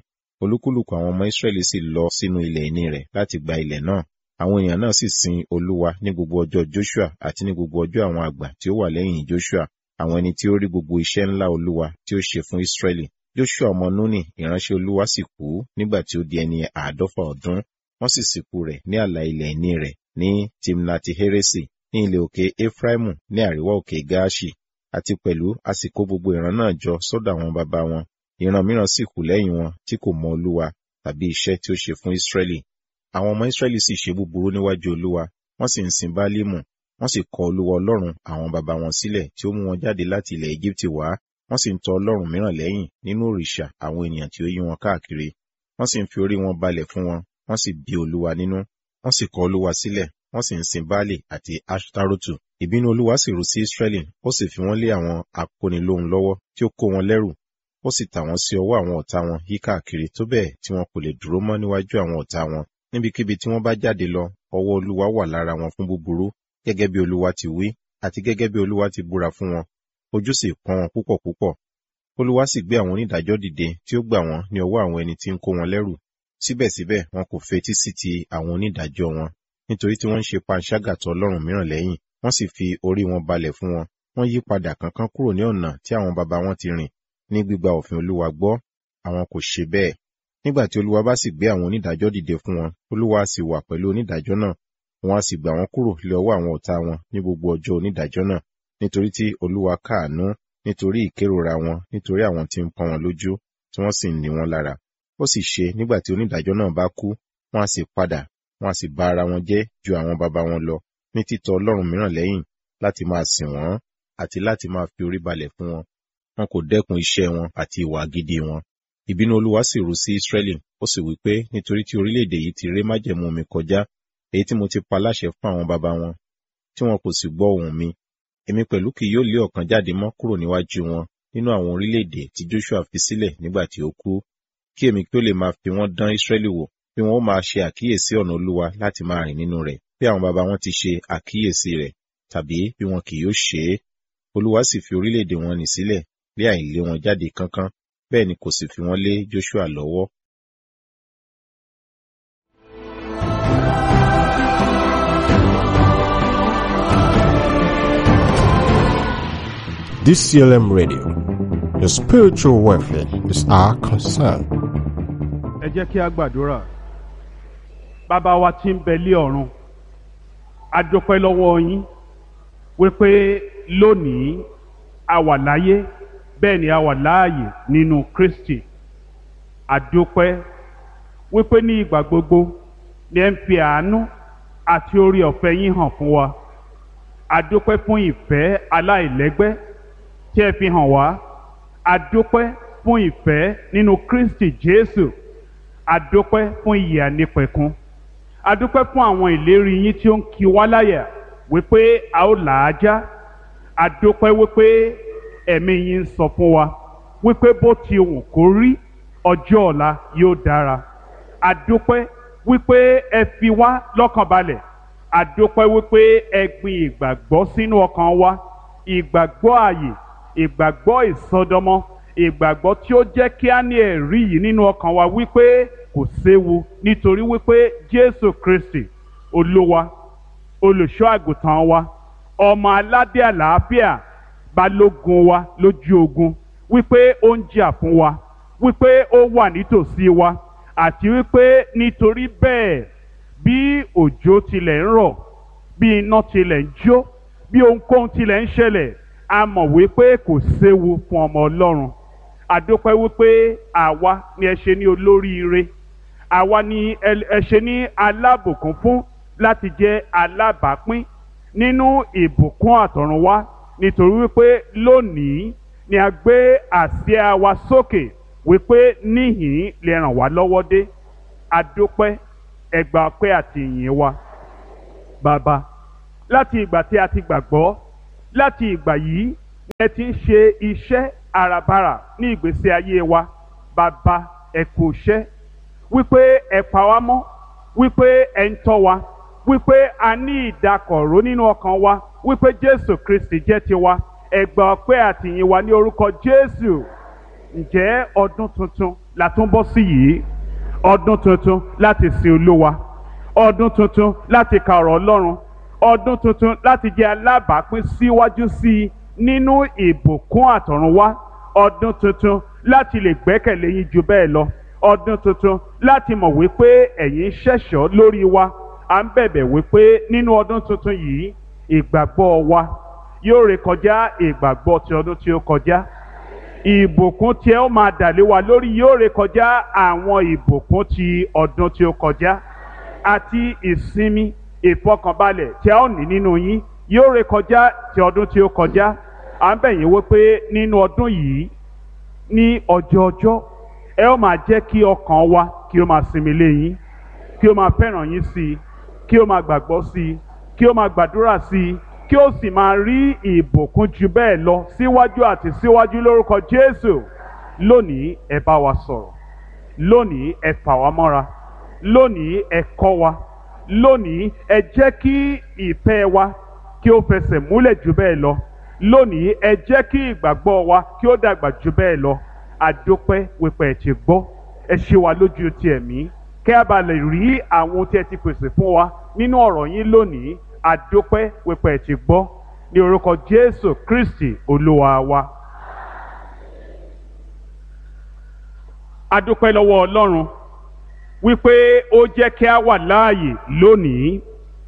olúkúlùkù àwọn ọmọ Ísírẹ́lì sì lọ sínú ilẹ̀ ìní rẹ̀ láti gba ilẹ̀ náà. Àwọn ènìyàn náà sì sin Olúwa ní gbogbo ọjọ́ Joṣua àti ní gbogbo ọjọ́ àwọn àgbà tí ó wà lẹ́yìn Joṣua, àwọn ẹni tí ó rí gbogbo iṣẹ́ ńlá Olúwa tí ó ṣe fún Ísírẹ́lì. Joṣua ọmọ Núnì, ìránṣẹ́ Olúwa sì kú nígbà tí ó di ẹni àádọ́fà ọdún. Wọ́n sì sìnkú rẹ̀ ní ààlà ilẹ̀ ìní rẹ̀ ní Timnati-Heresi, ní ilẹ̀ òkè Efraimu ní àríwá òkè Gaaṣi. Àti pẹ̀lú a sì kó gbogbo ìran náà jọ sọ́dọ̀ àwọn baba wọn. Ìran mìíràn sì kù lẹ́yìn wọn tí kò mọ Olúwa tàbí iṣẹ́ tí ó ṣe fún Ísírẹ́lì. Àwọn ọmọ Ísírẹ́lì sì ṣe búburú níwájú Olúwa, wọ́n sì ń sin Bálímù, wọ́n sì kọ Olúwa Ọlọ́run àwọn baba wọn sílẹ̀ tí ó mú wọn jáde láti ilẹ̀ Égíptì wá, wọ́n sì ń tọ ọlọ́run mìíràn lẹ́yìn nínú òrìṣà àwọn ènìyàn tí ó yí wọn káàkiri. Wọ́n sì ń fi orí wọn balẹ̀ fún wọn, wọ́n sì bí Olúwa nínú, wọ́n sì kọ Olúwa sílẹ̀, wọ́n sì ń sin Báálì àti Aṣtarotu. Ìbínú Olúwa sì rú sí Ísírẹ́lì, ó sì fi wọ́n lé àwọn akónilóhun lọ́wọ́ tí ó kó wọn lẹ́rù, ó sì tà wọ́n sí ọwọ́ àwọn ọ̀tá wọn yíkáàkiri tó bẹ́ẹ̀ tí wọn kò lè dúró mọ́ níwájú àwọn ọ̀tá wọn. Níbikíbi tí wọ́n bá jáde lọ, ọwọ́ Olúwa wà lára wọn fún búburú, gẹ́gẹ́ bí Olúwa ti wí, àti gẹ́gẹ́ bí Olúwa ti búra fún wọn. Ojú sì pọ́n wọn púpọ̀ púpọ̀. Olúwa sì gbé àwọn onídàájọ́ dìde tí ó gbà wọ́n ní ọwọ́ àwọn ẹni tí ń kó wọn lẹ́rù. Síbẹ̀síbẹ̀ wọn kò fetí sí ti àwọn onídàájọ́ wọn, nítorí tí wọ́n ń ṣe panṣágà tọ Ọlọ́run mìíràn lẹ́yìn, wọ́n sì fi orí wọn balẹ̀ fún wọn. Wọ́n yí padà kánkán kúrò ní ọ̀nà tí àwọn baba wọn ti rìn ní gbígba òfin Olúwa gbọ́, àwọn kò ṣe bẹ́ẹ̀. Nígbà tí Olúwa bá sì gbé àwọn onídàájọ́ dìde fún wọn, Olúwa sì wà pẹ̀lú onídàájọ́ náà, wọn a sì gbà wọ́n kúrò lé ọwọ́ àwọn ọ̀tá wọn ní gbogbo ọjọ́ onídàájọ́ náà, nítorí tí Olúwa káàánú, nítorí ìkérora wọn, nítorí àwọn tí ń pọ́n wọn lójú, tí wọ́n sì ń ní wọn lára. Ó sì ṣe nígbà tí onídàájọ́ náà bá kú, wọn a sì padà, wọn a sì ba ara wọn jẹ́ ju àwọn baba wọn lọ, ní títọ Ọlọ́run mìíràn lẹ́yìn láti máa sìn wọ́n àti láti máa fi orí balẹ̀ fún wọn. Wọn kò dẹ́kun iṣẹ́ wọn àti ìwà gidi wọn. Ìbínú Olúwa sì rú sí Ísírẹ́lì, ó sì wí pé nítorí tí orílẹ̀-èdè yìí ti ré májẹ̀mú mi kọjá, èyí tí mo ti pa láṣẹ fún àwọn baba wọn, tí wọn kò sì gbọ́ ohùn mi. Èmi pẹ̀lú kì yóò lé ọ̀kan jáde mọ́ kúrò níwájú wọn nínú àwọn orílẹ̀-èdè tí Joṣua fi sílẹ̀ nígbà tí ó kú, kí èmi kí ó lè máa fi wọ́n dán Ísírẹ́lì wò, bí wọn ó máa ṣe àkíyèsí ọ̀nà Olúwa láti máa rìn nínú rẹ̀, bí àwọn baba wọn ti ṣe àkíyèsí rẹ̀, tàbí bí wọn kì yóò ṣe é. Olúwa sì fi orílẹ̀-èdè wọn nì sílẹ̀ lé àìlé wọn jáde kánkán, bẹ́ẹ̀ ni kò sì fi wọ́n lé Joṣua lọ́wọ́. D C L M Radio, the spiritual welfare is our concern. Ẹ jẹ́ kí a gbàdúrà. Bàbá wa tí ń bẹ lé ọ̀run, a dúpẹ́ lọ́wọ́ yín wípé lónìí a wà láyé, bẹ́ẹ̀ ni a wà láàyè nínú Kristi. A dúpẹ́ wípé ní ìgbà gbogbo ni ẹ ń fi àánú àti orí ọ̀fẹ́ yín hàn fún wa. A dúpẹ́ fún ìfẹ́ aláìlẹ́gbẹ́ tí ẹ fi hàn wá. A dúpẹ́ fún ìfẹ́ nínú Kristi Jésù. A dúpẹ́ fún ìyè ànípẹ̀kun. A dúpẹ́ fún àwọn ìlérí yín tí ó ń kí wá láyà wípé a ó là á já. A dúpẹ́ wípé ẹ̀mí yín ń sọ fún wa wípé bó ti wù kó rí, ọjọ́ ọ̀la yóò dára. A dúpẹ́ wípé ẹ fi wá lọ́kàn balẹ̀. A dúpẹ́ wípé ẹ gbin ìgbàgbọ́ sínú ọkàn wa, ìgbàgbọ́ ààyè, ìgbàgbọ́ ìsọdọmọ, ìgbàgbọ́ tí ó jẹ́ kí á ní ẹ̀rí yìí nínú ọkàn wa wípé kò séwu, nítorí wípé Jésù Kristi Olúwa, olùṣọ́ àgùntàn wa, ọmọ aládé àlàáfíà, balógun wa lójú ogun, wípé ó ń jà fún wa, wípé ó wà nítòsí wa, àti wípé nítorí bẹ́ẹ̀ bí òjò tilẹ̀ ń rọ̀, bí iná tilẹ̀ ń jó, bí ohunkóhun tilẹ̀ ń ṣẹlẹ̀, a mọ̀ wípé kò séwu fún ọmọ Ọlọ́run. A dúpẹ́ wípé àwa ni ẹ ṣe ní olóríire, àwa ni ẹ ṣe ní alábùkún fún láti jẹ́ alábàápín nínú ìbùkún àtọ̀runwá, nítorí wípé lónìí ni a gbé àsíá wa sókè wípé níhìn lè ràn wá lọ́wọ́ dé. A dúpẹ́, ẹ gbà ọpẹ́ àti ìyìn wa. Bàbá, Láti ìgbà tí a ti gbàgbọ́, láti ìgbà yìí ni ẹ ti ń ṣe iṣẹ́ àràbarà ní ìgbésí ayé wa. Bàbá, ẹ kú iṣẹ́, wípé ẹ pa wá mọ́, wípé ẹ ń tọ́ wa, wípé a ní ìdákọ̀ró nínú ọkàn wa, wípé Jésù Kristi jẹ́ tiwa. Ẹ gbà ọpẹ́ àtìyìn wa ní orúkọ Jésù. Ǹjẹ́ ọdún tuntun la tún bọ́ sí yìí? Ọdún tuntun láti sin Olúwa, ọdún tuntun láti ka ọ̀rọ̀ Ọlọ́run, ọdún tuntun láti jẹ́ alábàápín síwájú sí i nínú ìbùkún àtọ̀runwá, ọdún tuntun láti lè gbẹ́kẹ̀lé yín ju bẹ́ẹ̀ lọ, ọdún tuntun láti mọ̀ wípé ẹ̀yin ṣẹ̀ṣọ́ lórí wa. À ń bẹ̀bẹ̀ wípé nínú ọdún tuntun yìí, ìgbàgbọ́ wa yóò rékọjá ìgbàgbọ́ ti ọdún tí ó kọjá. Ìbùkún tí ẹ ó máa dà lé wa lórí yóò rékọjá àwọn ìbùkún ti ọdún tí ó kọjá, àti ìsinmi ìfọkànbalẹ̀ tí a ó ní nínú yín yóò rékọjá ti ọdún tí ó kọjá. À ń bẹ̀ yín wípé nínú ọdún yìí, ní ọjọọjọ́, ẹ ó máa jẹ́ kí ọkàn wa kí ó máa sinmi lé yín, kí ó máa fẹ́ràn yín sí i, kí ó máa gbàgbọ́ sí i, kí ó máa gbàdúrà sí i, kí ó sì máa rí ìbùkún ju bẹ́ẹ̀ lọ síwájú àti síwájú lórúkọ Jésù. Lónìí ẹ bá wa sọ̀rọ̀, lónìí ẹ fà wá mọ́ra, lónìí ẹ kọ́ wa, lónìí ẹ jẹ́ kí ìfẹ́ wa kí ó fẹsẹ̀ múlẹ̀ ju bẹ́ẹ̀ lọ, lónìí ẹ jẹ́ kí ìgbàgbọ́ wa kí ó dàgbà ju bẹ́ẹ̀ lọ. Àdópẹ́ wípé ẹ ti gbọ́, ẹ ṣe wa lójú ti ẹ̀mí, kí a bá lè rí àwọn ohun tí ẹ ti pèsè fún wa nínú ọ̀rọ̀ yín lónìí. Àdópẹ́ wípé ẹ ti gbọ́, ní orúkọ Jésù Kristi Olúwa wa. Adúpẹ́ lọ́wọ́ Ọlọ́run wípé ó jẹ́ kí a wà láàyè lónìí.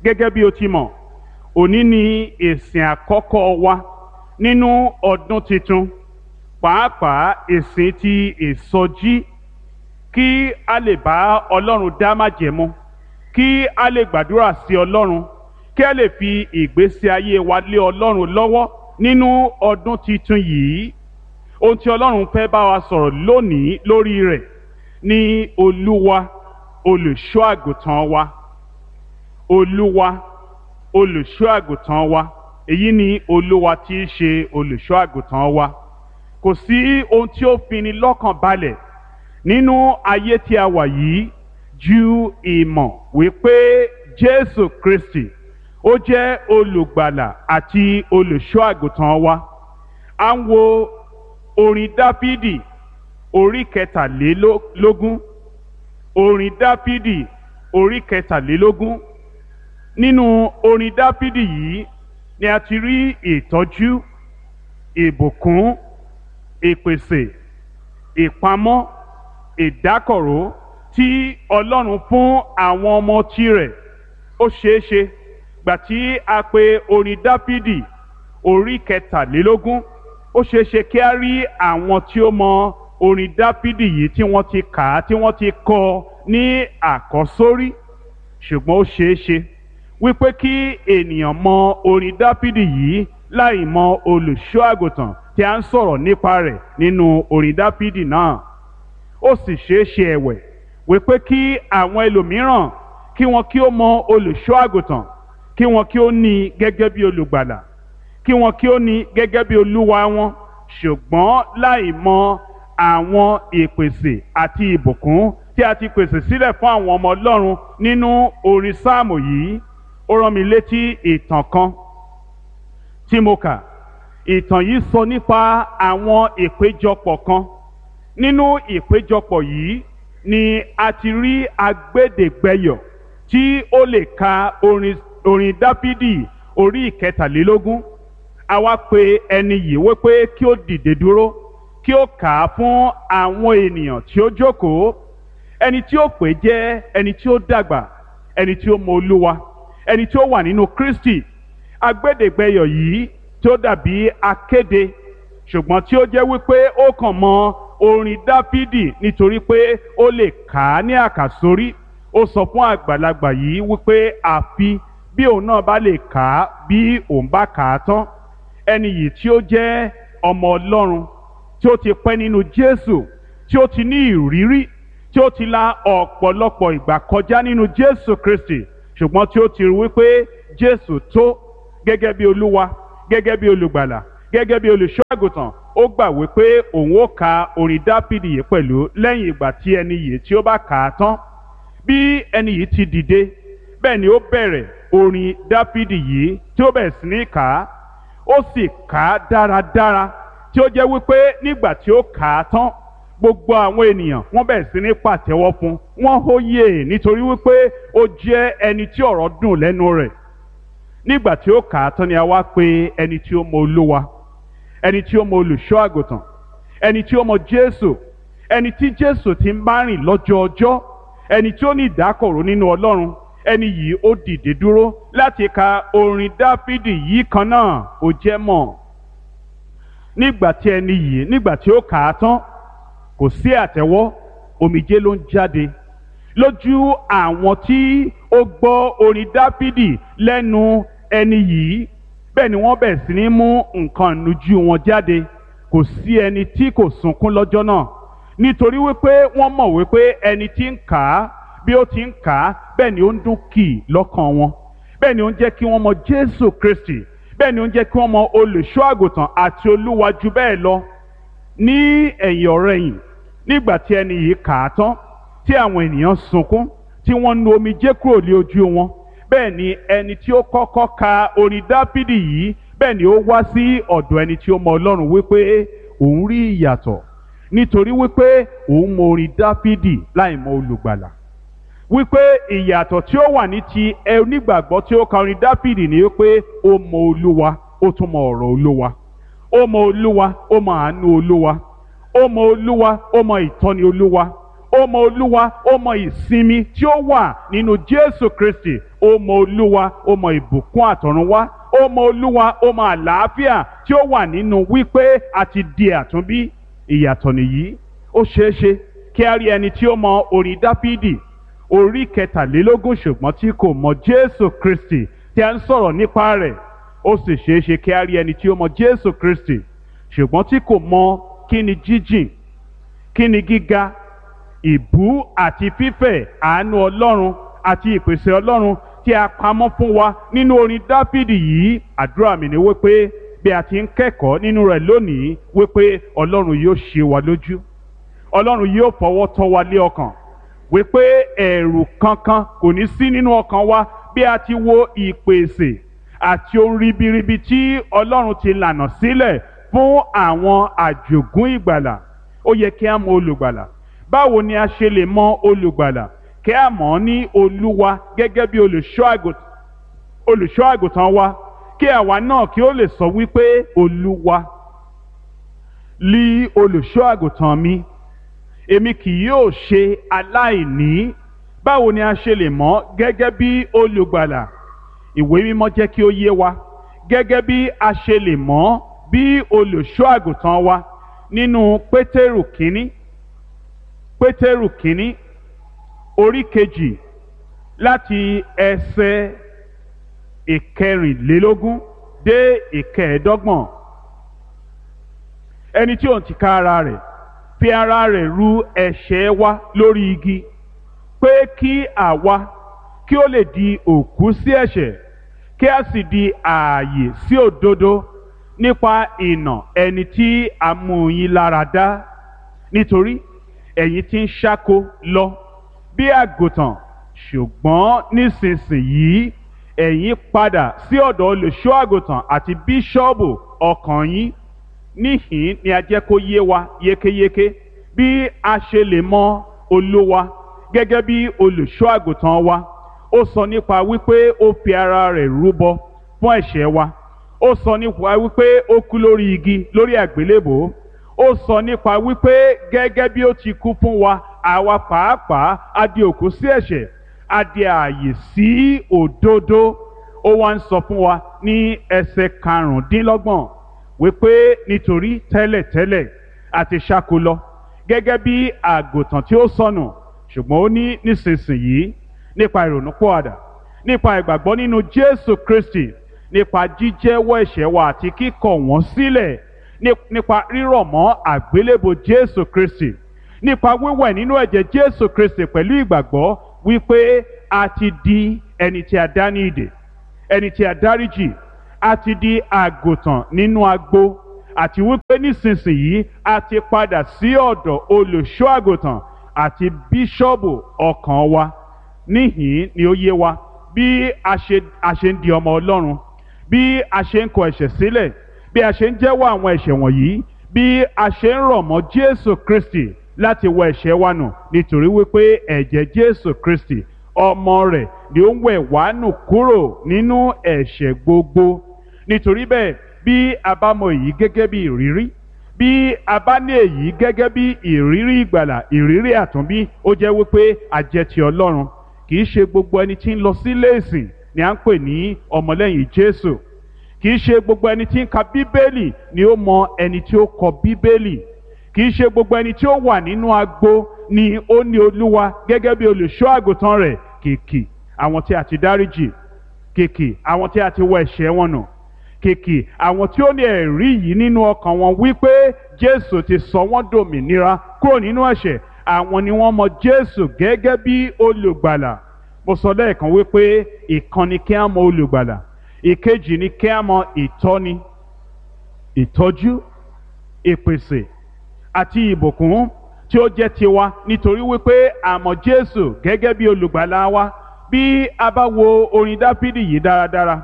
Gẹ́gẹ́ bí o ti mọ̀, òní ni ìsìn àkọ́kọ́ wa nínú ọdún tuntun, pàápàá ìsìn ti ìsọjí, kí a lè bá Ọlọ́run dá májẹ̀mú, kí a lè gbàdúrà sí Ọlọ́run, kí a lè fi ìgbésí ayé wa lé Ọlọ́run lọ́wọ́ nínú ọdún tuntun yìí. Ohun tí Ọlọ́run fẹ́ bá wa sọ̀rọ̀ lónìí lórí rẹ̀ ni Olúwa olùṣọ́ àgùntàn wa. Olúwa olùṣọ́ àgùntàn wa. Èyí ni Olúwa tí í ṣe olùṣọ́ àgùntàn wa. Kò sí ohun tí ó fini lọ́kàn balẹ̀ nínú ayé tí a wà yìí ju ìmọ̀ wípé Jésù Kristi ó jẹ́ olùgbàlà àti olùṣọ́ àgùntàn wa. À ń wo orin Dáfídì orí kẹtàlélógún. Orin Dáfídì orí kẹtàlélógún. Nínú orin Dáfídì yìí ni a ti rí ìtọ́jú, ìbùkún, ìpèsè, ìpamọ́, ìdákọ̀ró tí Ọlọ́run fún àwọn ọmọ tirẹ̀. Ó ṣeéṣe gbà tí a pe orin Dáfídì orí kẹtàlélógún, ó ṣeéṣe kí a rí àwọn tí ó mọ orin Dáfídì yìí tí wọ́n ti kà á, tí wọ́n ti kọ ní àkọ́sórí. Ṣùgbọ́n ó ṣeéṣe wípé kí ènìyàn mọ orin Dáfídì yìí láì mọ olùṣọ́ àgùntàn tí a ń sọ̀rọ̀ nípa rẹ̀ nínú orin Dáfídì náà. Ó sì ṣeéṣe ẹ̀wẹ̀ wípé kí àwọn ẹlòmíràn kí wọn kí ó mọ olùṣọ́ àgùntàn, kí wọn kí ó ní i gẹ́gẹ́ bí olùgbàlà, kí wọn kí ó ní i gẹ́gẹ́ bí olúwa wọn, ṣùgbọ́n láì mọ àwọn ìpèsè àti ìbùkún tí a ti pèsè sílẹ̀ fún àwọn ọmọ Ọlọ́run nínú orin sáàmù yìí. Ó rán mi létí ìtàn kan tí mo kà. Ìtàn yìí sọ nípa àwọn ìpéjọpọ̀ kan. Nínú ìpéjọpọ̀ yìí ni a ti rí agbẹ́dẹ̀gbẹ́yọ̀ tí ó lè ka orin orin Dáfídì orí ìkẹtàlélógún. A wá pe ẹni yìí wípé kí ó dìde dúró, kí ó kà á fún àwọn ènìyàn tí ó jókòó. Ẹni tí ó pè jẹ́ ẹni tí ó dàgbà, ẹni tí ó mọ Olúwa, ẹni tí ó wà nínú Kristi. Agbẹ́dẹ̀gbẹ́yọ̀ yìí tí ó dàbí akéde, ṣùgbọ́n tí ó jẹ́ wípé ó kàn mọ orin Dáfídì nítorí pé ó lè kà á ní àkàsórí. Ó sọ fún àgbàlagbà yìí wípé àfi bí òun náà bá lè kà á, bí òun bá kà á tán. Ẹni yìí tí ó jẹ́ ọmọ Ọlọ́run, tí ó ti pẹ́ nínú Jésù, tí ó ti ní ìrírí, tí ó ti la ọ̀pọ̀lọpọ̀ ìgbà kọjá nínú Jésù Kristi, ṣùgbọ́n tí ó ti rí wípé Jésù tó gẹ́gẹ́ bí Olúwa, gẹ́gẹ́ bí olùgbàlà, gẹ́gẹ́ bí olùṣọ́ àgùntàn, ó gbà wípé òun ó ka orin Dáfídì yìí pẹ̀lú lẹ́yìn ìgbà tí ẹni yìí tí ó bá kà á tán. Bí ẹni yìí ti dìde, bẹ́ẹ̀ ni ó bẹ̀rẹ̀ orin Dáfídì yìí tí ó bẹ̀rẹ̀ sí ní kà á. Ó sì kà á dáradára, tí ó jẹ́ wípé nígbà tí ó kà á tán, gbogbo àwọn ènìyàn wọ́n bẹ̀rẹ̀ sí ní pàtẹ́wọ́ fún wọ́n hóyè, nítorí wípé ó jẹ́ ẹni tí ọ̀rọ̀ dùn lẹ́nu rẹ̀. Nígbà tí ó kà á tán ni a wá pè ẹni tí ó mọ Olúwa, ẹni tí ó mọ olùṣọ́ àgùntàn, ẹni tí ó mọ Jésù, ẹni tí Jésù ti ń bá rìn lọ́jọ́ ọjọ́, ẹni tí ó ní ìdákọ̀ró nínú Ọlọ́run. Ẹni yìí ó dìde dúró láti ka orin Dáfídì yìí kan náà. Ó jẹ́ mọ̀, nígbà tí ẹni yìí nígbà tí ó kà á tán, kò sí àtẹ́wọ́, omijé ló ń jáde lójú àwọn tí ó gbọ́ orin Dáfídì lẹ́nu ẹni yìí. Bẹ́ẹ̀ ni wọ́n bẹ̀rẹ̀ sí ní mú nǹkan ìnujú wọn jáde. Kò sí ẹni tí kò sunkún lọ́jọ́ náà, nítorí wípé wọ́n mọ̀ wípé ẹni tí ń kà á, bí ó ti ń kà á, bẹ́ẹ̀ ni ó ń dún kì í lọ́kàn wọn, bẹ́ẹ̀ ni ó ń jẹ́ kí wọ́n mọ Jésù Kristi, bẹ́ẹ̀ ni ó ń jẹ́ kí wọ́n mọ olùṣọ́ àgùntàn àti Olúwa jù bẹ́ẹ̀ lọ. Ní ẹ̀yìn ọ̀rẹ̀yìn, nígbà tí ẹni yìí kà á tán, tí àwọn ènìyàn sunkún, tí wọ́n nu omijé kúrò lé ojú wọn, bẹ́ẹ̀ ni ẹni tí ó kọ́kọ́ ka orin Dáfídì yìí, bẹ́ẹ̀ ni ó wá sí ọ̀dọ̀ ẹni tí ó mọ Ọlọ́run wípé òun rí ìyàtọ̀, nítorí wípé òun mọ orin Dáfídì láì mọ olùgbàlà. Wípé ìyàtọ̀ tí ó wà ní ti onígbàgbọ́ tí ó ka orin Dáfídì ni wípé ó mọ Olúwa, ó tún mọ ọ̀rọ̀ Olúwa. Ó mọ Olúwa, ó mọ àánú Olúwa. Ó mọ Olúwa, ó mọ ìtọ́ni Olúwa. Ó mọ Olúwa, ó mọ ìsinmi tí ó wà nínú Jésù Kristi. Ó mọ Olúwa, ó mọ ìbùkún àtọ̀runwá. Ó mọ Olúwa, ó mọ àlàáfíà tí ó wà nínú wípé a ti di àtúnbí. Ìyàtọ̀ nìyí. Ó ṣeé ṣe kí a rí ẹni tí ó mọ orin Dáfídì orí kẹtàlélógún ṣùgbọ́n tí kò mọ Jésù Kristi tí a ń sọ̀rọ̀ nípa rẹ̀. Ó sì ṣeé ṣe kí a rí ẹni tí ó mọ Jésù Kristi ṣùgbọ́n tí kò mọ kí ni jíjìn, kí ni gíga, ìbú àti fífẹ̀ àánú Ọlọ́run àti ìpèsè Ọlọ́run tí a pamọ́ fún wa nínú orin Dáfídì yìí. Àdúrà mi ni wípé bí a ti ń kẹ́kọ̀ọ́ nínú rẹ̀ lónìí, wípé Ọlọ́run yóò ṣe wa lójú, Ọlọ́run yóò fọwọ́ tọ́ wa lé ọkàn, wípé ẹ̀rù kankan kò ní sí nínú ọkàn wa bí a ti wo ìpèsè àti ohun ribiribi tí Ọlọ́run ti lànà sílẹ̀ fún àwọn àjògún ìgbàlà. Ó yẹ kí a mọ olùgbàlà. Báwo ni a ṣe lè mọ olùgbàlà? Kí a mọ̀ ọ́ ní Olúwa gẹ́gẹ́ bí olùṣọ́ àgùntàn wa, kí àwa náà kí ó lè sọ wípé Olúwa lí olùṣọ́ àgùntàn mi, èmi kì yóò ṣe aláìní. Báwo ni a ṣe lè mọ̀ gẹ́gẹ́ bí olùgbàlà? Ìwé mímọ́ jẹ́ kí ó yé wa gẹ́gẹ́ bí a ṣe lè mọ̀ bí olùṣọ́ àgùntàn wa nínú Pétérù kínní, Pétérù kínní orí kejì láti ẹsẹ̀ ìkẹrìnlélógún dé ìkẹẹ̀ẹ́dọ́gbọ̀n. Ẹni tí òun ti ká ara rẹ̀ fi ara rẹ̀ ru ẹ̀ṣẹ̀ wa lórí igi, pé kí àwa kí ó lè di òkú sí ẹ̀ṣẹ̀, kí a sì di ààyè sí òdodo nípa ìnà ẹni tí a mú yín lára dá. Nítorí ẹ̀yin ti ń ṣáko lọ bí àgùntàn, ṣùgbọ́n nísinsìnyí ẹ̀yin padà sí ọ̀dọ̀ olùṣọ́ àgùntàn àti bíṣọ́ọ̀bù ọkàn yín. Níhìn ni a jẹ́ kó yé wa yékéyéké bí a ṣe lè mọ Olúwa gẹ́gẹ́ bí olùṣọ́ àgùntàn wa. Ó sọ nípa wípé ó fi ara rẹ̀ rúbọ fún ẹ̀ṣẹ̀ wa. Ó sọ nípa wípé ó kú lórí igi lórí àgbélébòó. Ó sọ nípa wípé gẹ́gẹ́ bí ó ti kú fún wa, àwa pàápàá a di òkú sí ẹ̀ṣẹ̀, a di ààyè sí òdodo. Ó wá ń sọ fún wa ní ẹsẹ̀ karùndínlọ́gbọ̀n wípé nítorí tẹ́lẹ̀tẹ́lẹ̀ a ti ṣáko lọ gẹ́gẹ́ bí àgùntàn tí ó sọnù, ṣùgbọ́n ó ní nísinsìnyí nípa ìrònúpìwàdà, nípa ìgbàgbọ́ nínú Jésù Kristi, nípa jíjẹ́wọ́ ẹ̀ṣẹ̀ wa àti kíkọ̀ wọ́n sílẹ̀, nípa rírọ̀ mọ́ àgbélébò Jésù Kristi, nípa wíwẹ̀ nínú ẹ̀jẹ̀ Jésù Kristi pẹ̀lú ìgbàgbọ́ wípé a ti di ẹni tí a dá ní ìdè, ẹni tí a dáríjì, A ti di àgùntàn nínú agbo, àti wípé nísinsìnyí a ti padà sí ọ̀dọ̀ olùṣọ́ àgùntàn àti bíṣọ́ọ̀bù ọkàn wa. Níhìn ni ó yé wa bí a ṣe a ṣe ń di ọmọ Ọlọ́run, bí a ṣe ń kọ ẹ̀ṣẹ̀ sílẹ̀, bí a ṣe ń jẹ́wọ́ àwọn ẹ̀ṣẹ̀ wọ̀nyí, bí a ṣe ń rọ̀ mọ́ Jésù Kristi láti wọ ẹ̀ṣẹ̀ wa nù, nítorí wípé ẹ̀jẹ̀ Jésù Kristi ọmọ rẹ̀ ni ó ń wẹ̀ wá nù kúrò nínú ẹ̀ṣẹ̀ gbogbo. Nítorí bẹ́ẹ̀, bí a bá mọ èyí gẹ́gẹ́ bí ìrírí, bí a bá ní èyí gẹ́gẹ́ bí ìrírí ìgbàlà, ìrírí àtúnbí, ó jẹ́ wípé a jẹ́ ti Ọlọ́run. Kì í ṣe gbogbo ẹni tí ń lọ sílé ìsìn ni à ń pè ní ọmọlẹ́yìn Jésù. Kì í ṣe gbogbo ẹni tí ń ka Bíbélì ni ó mọ ẹni tí ó kọ Bíbélì. Kì í ṣe gbogbo ẹni tí ó wà nínú agbo ni ó ní Olúwa gẹ́gẹ́ bí olùṣọ́ àgùntàn rẹ̀. Kìkì àwọn tí a ti dáríjì, kìkì àwọn tí a ti wọ ẹ̀ṣẹ̀ wọn nù, kìkì àwọn tí ó ní ẹ̀rí yìí nínú ọkàn wọn wípé Jésù ti sọ wọ́n dòmìnira kúrò nínú ẹ̀ṣẹ̀, àwọn ni wọ́n mọ Jésù gẹ́gẹ́ bí olùgbàlà. Mo sọ lẹ́ẹ̀kan wípé ìkan ni kí á mọ olùgbàlà, ìkejì ni kí á mọ ìtọ́ni, ìtọ́jú, ìpèsè àti ìbùkún tí ó jẹ́ tiwa, nítorí wípé a mọ̀ Jésù gẹ́gẹ́ bí olùgbàlà wa. Bí a bá wo orin Dáfídì yìí dáradára,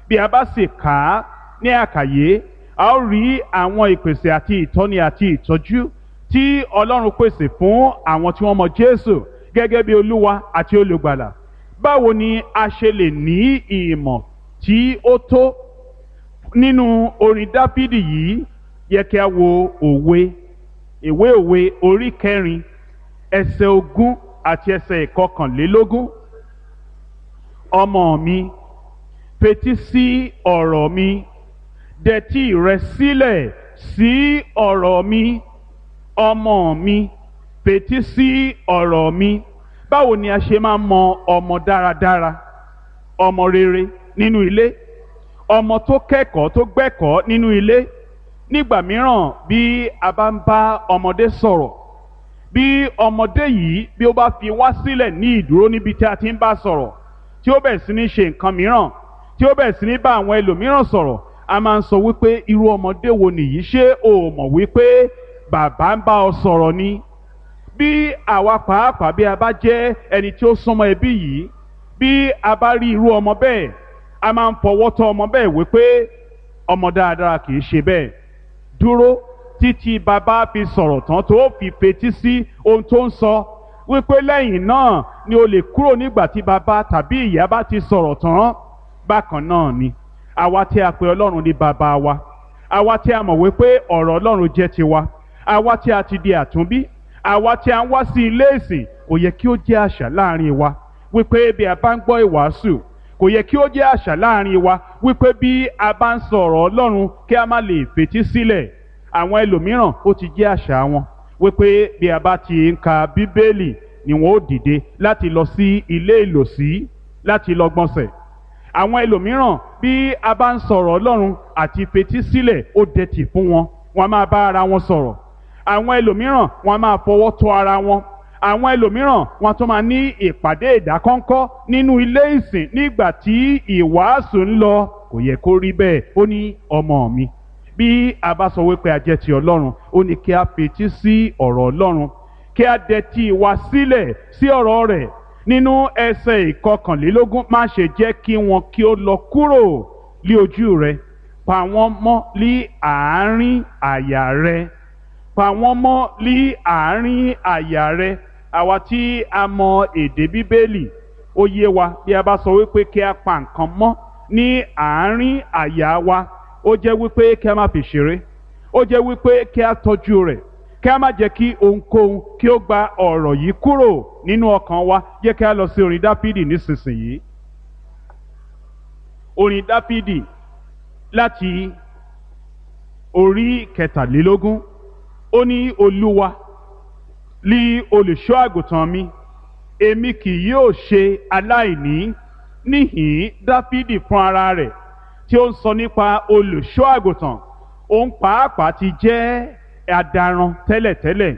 bí a bá sì kà á ní àkàyé, a ó rí àwọn ìpèsè àti ìtọ́ni àti ìtọ́jú tí Ọlọ́run pèsè fún àwọn tí wọ́n mọ̀ Jésù gẹ́gẹ́ bí Olúwa àti olùgbàlà. Báwo ni a ṣe lè ní ìmọ̀ tí ó tó nínú orin Dáfídì yìí? Yẹ kí a wo òwe, ìwé òwe orí kẹrin, ẹsẹ̀ ogún àti ẹsẹ̀ ìkọkànlélógún. Ọmọ mi, fetí sí ọ̀rọ̀ mi, dẹtí rẹ sílẹ̀ sí ọ̀rọ̀ mi. Ọmọ mi, fetí sí ọ̀rọ̀ mi. Báwo ni a ṣe máa mọ ọmọ dáradára, ọmọ rere nínú ilé, ọmọ tó kẹ́kọ̀ọ́ tó gbẹ́kọ̀ọ́ nínú ilé? Nígbà mìíràn bí a bá ń bá ọmọdé sọ̀rọ̀, bí ọmọdé yìí bí ó bá fi wá sílẹ̀ ní ìdúró níbi tí a ti ń bá sọ̀rọ̀, tí ó bẹ̀rẹ̀ sí ní ṣe nǹkan mìíràn, tí ó bẹ̀rẹ̀ sí ní bá àwọn ẹlòmíràn sọ̀rọ̀, a máa ń sọ wípé irú ọmọdé wo nìyí, ṣé o mọ̀ wípé bàbá ń bá ọ sọ̀rọ̀ ni? Bí àwa pàápàá bí a bá jẹ́ ẹni tí ó súnmọ́ ẹbí yìí, bí a bá rí irú ọmọ bẹ́ẹ̀, a máa ń fọwọ́ tọ́ ọmọ bẹ́ẹ̀ wípé ọmọ dáadáa kì í ṣe bẹ́ẹ̀. Dúró títí bàbá fi sọ̀rọ̀ tán tó fi fetí sí ohun tó ń sọ, wípé lẹ́yìn náà ni o lè kúrò nígbà tí bàbá tàbí ìyá bá ti sọ̀rọ̀ tán. Bákan náà ni àwa tí a pè Ọlọ́run ní bàbá wa, àwa tí a mọ̀ wípé ọ̀rọ̀ Ọlọ́run jẹ́ tiwa, àwa tí a ti di àtúnbí, àwa tí a ń wá sí ilé ìsìn, kò yẹ kí ó jẹ́ àṣà láàrin wa wípé bí a bá ń gbọ́ ìwàásù, kò yẹ kí ó jẹ́ àṣà láàrin wa wípé bí a bá ń sọ̀rọ̀ Ọlọ́run kí a má lè fetí sílẹ̀. Àwọn ẹlòmíràn ó ti jẹ́ àṣà wọn wípé bí a bá ti ń ka Bíbélì ni wọn ó dìde láti lọ sí ilé ìlòsí láti lọ gbọ̀nsẹ̀. Àwọn ẹlòmíràn bí a bá ń sọ̀rọ̀ Ọlọ́run àti fetí sílẹ̀ ó dẹ̀tì fún wọn, wọn máa bá ara wọn sọ̀rọ̀. Àwọn ẹlòmíràn wọn máa fọwọ́ tọ́ ara wọn. Àwọn ẹlòmíràn wọn tún máa ní ìpàdé ìdákọ́ńkọ́ nínú ilé ìsìn nígbà tí ìwàásù ń lọ. Kò yẹ kó rí bẹ́ẹ̀. Ó ní ọmọ mi, bí a bá sọ wípé a jẹ́ ti Ọlọ́run, ó ní kí a fetí sí ọ̀rọ̀ Ọlọ́run, kí a dẹ̀tí wa sílẹ̀ sí ọ̀rọ̀ rẹ̀. Nínú ẹsẹ̀ ìkọkànlélógún, má ṣe jẹ́ kí wọn kí ó lọ kúrò lí ojú rẹ, pa wọ́n mọ́ lí àárín àyà rẹ, pa wọ́n mọ́ lí àárín àyà rẹ. Àwa tí a mọ èdè Bíbélì, ó yé wa bí a bá sọ wípé kí a pa nǹkan mọ́ ní àárín àyà wa, ó jẹ́ wípé kí a má fi ṣeré, ó jẹ́ wípé kí a tọ́jú rẹ̀, kí a má jẹ́ kí ohunkóhun kí ó gba ọ̀rọ̀ yìí kúrò nínú ọkàn wa. Jẹ́ kí a lọ sí orin Dáfídì nísinsìnyí. Orin Dáfídì láti orí kẹtàlélógún. Ó ní Olúwa lí olùṣọ́ àgùntàn mi, èmi kì yóò ṣe aláìní. Níhìn Dáfídì fún ara rẹ̀ tí ó ń sọ nípa olùṣọ́ àgùntàn, òun pàápàá ti jẹ́ adaran tẹ́lẹ̀tẹ́lẹ̀,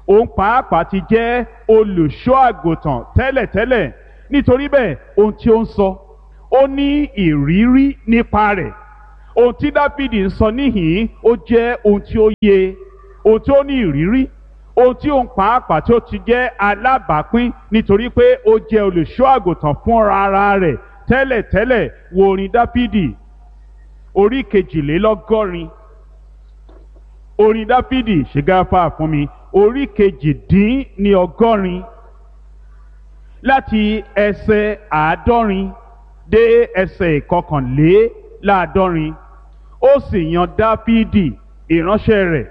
òun pàápàá ti jẹ́ olùṣọ́ àgùntàn tẹ́lẹ̀tẹ́lẹ̀. Nítorí bẹ́ẹ̀ ohun tí ó ń sọ, ó ní ìrírí nípa rẹ̀. Ohun tí Dáfídì ń sọ níhìn-ín ó jẹ́ ohun tí ó yé, ohun tí ó ní ìrírí, ohun tí òun pàápàá tí ó ti jẹ́ alábàápín, nítorí pé ó jẹ́ olùṣọ́ àgùntàn fúnra ara rẹ̀ tẹ́lẹ̀tẹ́lẹ̀. Wo orin Dáfídì orí kejìlélọ́gọ́rin. Orin Dáfídì, ṣègáfà fún mi, orí kejìdínní ọgọ́rin láti ẹsẹ̀ àádọ́rin dé ẹsẹ̀ ìkọkànléláàádọ́rin. Ó sì yan Dáfídì ìránṣẹ́ rẹ̀,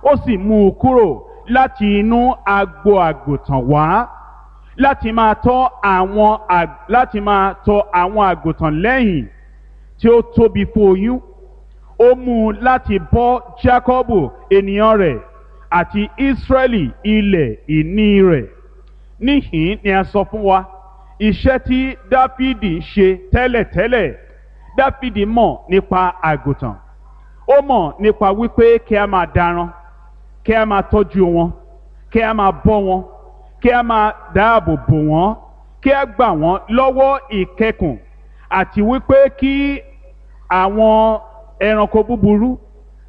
ó sì mú un kúrò láti inú agbo àgùntàn wá, láti máa tọ́ àwọn láti máa tọ́ àwọn àgùntàn lẹ́yìn tí ó tóbi fún oyún. Ó mú un láti bọ́ Jákọ́bù ènìyàn rẹ̀ àti Ísírẹ́lì ilẹ̀ ìní rẹ̀. Níhìn ni a sọ fún wa iṣẹ́ tí Dáfídì ń ṣe tẹ́lẹ̀tẹ́lẹ̀. Dáfídì mọ̀ nípa àgùntàn, ó mọ̀ nípa wípé kí a máa daran, kí a máa tọ́jú wọn, kí a máa bọ́ wọn, kí a máa dáàbò bò wọ́n, kí a gbà wọ́n lọ́wọ́ ìkẹkùn, àti wípé kí àwọn ẹranko búburú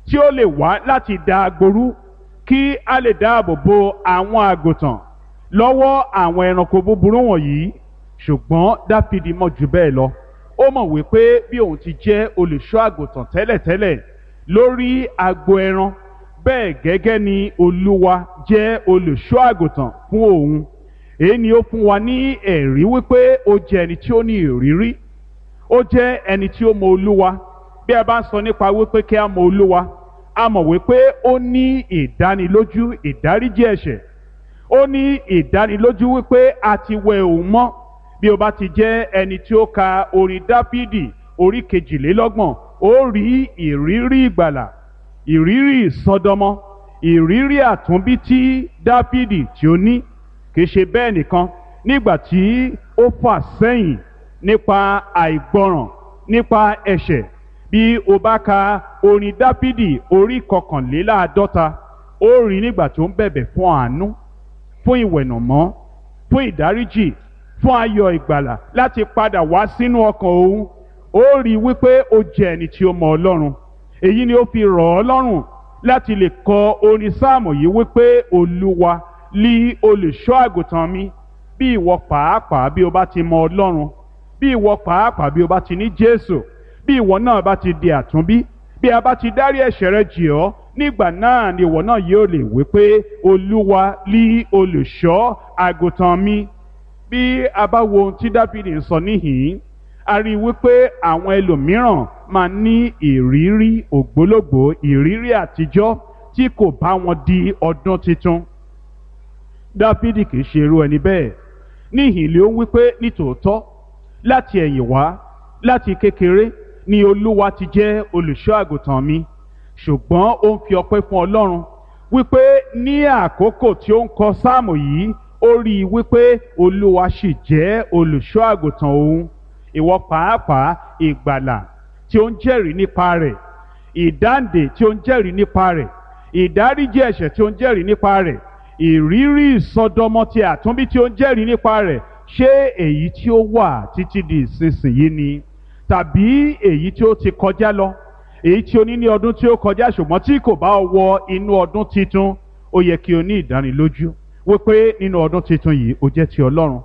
tí ó lè wá láti da agboru, kí a lè dáàbò bo àwọn àgùntàn lọ́wọ́ àwọn ẹranko búburú wọ̀nyí. Ṣùgbọ́n Dáfídì mọ̀ jù bẹ́ẹ̀ lọ. Ó mọ̀ wípé bí òun ti jẹ́ olùṣọ́ àgùntàn tẹ́lẹ̀tẹ́lẹ̀ lórí agbo ẹran, bẹ́ẹ̀ gẹ́gẹ́ ni Olúwa jẹ́ olùṣọ́ àgùntàn fún òun. Èyí ni ó fún wa ní ẹ̀rí wípé ó jẹ́ ẹni tí ó ní ìrírí, ó jẹ́ ẹni tí ó mọ Olúwa. Bí a bá ń sọ nípa wípé kí a mọ Olúwa, a mọ̀ wípé ó ní ìdánilójú ìdáríjì ẹ̀ṣẹ̀, ó ní ìdánilójú wípé a ti wẹ òun mọ́. Bí o bá ti jẹ́ ẹni tí ó ka orin Dáfídì orí kejìlélọ́gbọ̀n, ó rí ìrírí ìgbàlà, ìrírí ìsọdọmọ, ìrírí àtúnbí tí Dáfídì tí ó ní. Kì í ṣe bẹ́ẹ̀ nìkan, nígbà tí ó fà sẹ́yìn nípa àìgbọràn, nípa ẹ̀ṣẹ̀, bí o bá ka orin Dáfídì orí kọkànléláàádọ́ta, ó rí nígbà tó ń bẹ̀bẹ̀ fún àánú, fún ìwẹ̀nàmọ́, fún ìdáríjì, fún ayọ̀ ìgbàlà láti padà wá sínú ọkàn òun. Ó rí wípé ó jẹ́ ẹni tí ó mọ Ọlọ́run. Èyí ni ó fi rọ̀ ọ́ lọ́rùn láti lè kọ orin sáàmù yìí wípé Olúwa lí olùṣọ́ àgùntàn mi. Bí ìwọ pàápàá bí o bá ti mọ Ọlọ́run, bí ìwọ pàápàá bí o bá ti ní Jésù, bí ìwọ náà bá ti di àtúnbí, bí a bá ti dárí ẹ̀ṣẹ̀ rẹ jì ọ́, nígbà náà ni ìwọ náà yóò lè wí pé Olúwa lí olùṣọ́ àgùntàn mi. Bí a bá wo ohun tí Dáfídì ń sọ níhìn-ín, a rí i wípé àwọn ẹlòmíràn máa ní ìrírí ògbólógbòó, ìrírí àtijọ́ tí kò bá wọn di ọdún tuntun. Dáfídì kì í ṣe irú ẹni bẹ́ẹ̀. Níhìn ló ń wípé nítòótọ́ láti ẹ̀yìn wá, láti kékeré ni Olúwa ti jẹ́ olùṣọ́ àgùntàn mi. Ṣùgbọ́n ó ń fi ọpẹ́ fún Ọlọ́run wípé ní àkókò tí ó ń kọ sáàmù yìí, ó rí i wípé Olúwa sì jẹ́ olùṣọ́ àgùntàn òun. Ìwọ pàápàá, ìgbàlà tí ó ń jẹ́rìí nípa rẹ̀, ìdáǹdè tí ó ń jẹ́rìí nípa rẹ̀, ìdáríjì ẹ̀ṣẹ̀ tí ó ń jẹ́rìí nípa rẹ̀, ìrírí ìsọdọmọ ti àtúnbí tí ó ń jẹ́rìí nípa rẹ̀, ṣé èyí tí ó wà títí di ìsinsìnyí ni, tàbí èyí tí ó ti kọjá lọ, èyí tí o ní ní ọdún tí ó kọjá ṣùgbọ́n tí kò bá ọ wọ inú ọdún titun? Ó yẹ kí o ní ìdánilójú wípé nínú ọdún titun yìí o jẹ́ ti Ọlọ́run,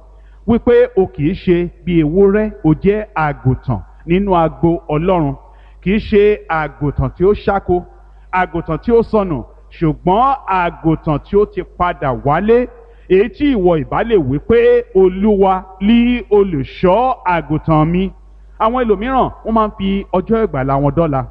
wípé o kì í ṣe bí ewúrẹ́, o jẹ́ àgùntàn nínú agbo Ọlọ́run. Kì í ṣe àgùntàn tí ó ṣáko, àgùntàn tí ó sọnù, ṣùgbọ́n àgùntàn tí ó ti padà wálé, èyí tí ìwọ ìbá lè wí pé Olúwa lí olùṣọ́ àgùntàn mi. Àwọn ẹlòmíràn wọ́n máa ń fi ọjọ́ ìgbàlà wọn dọ́là.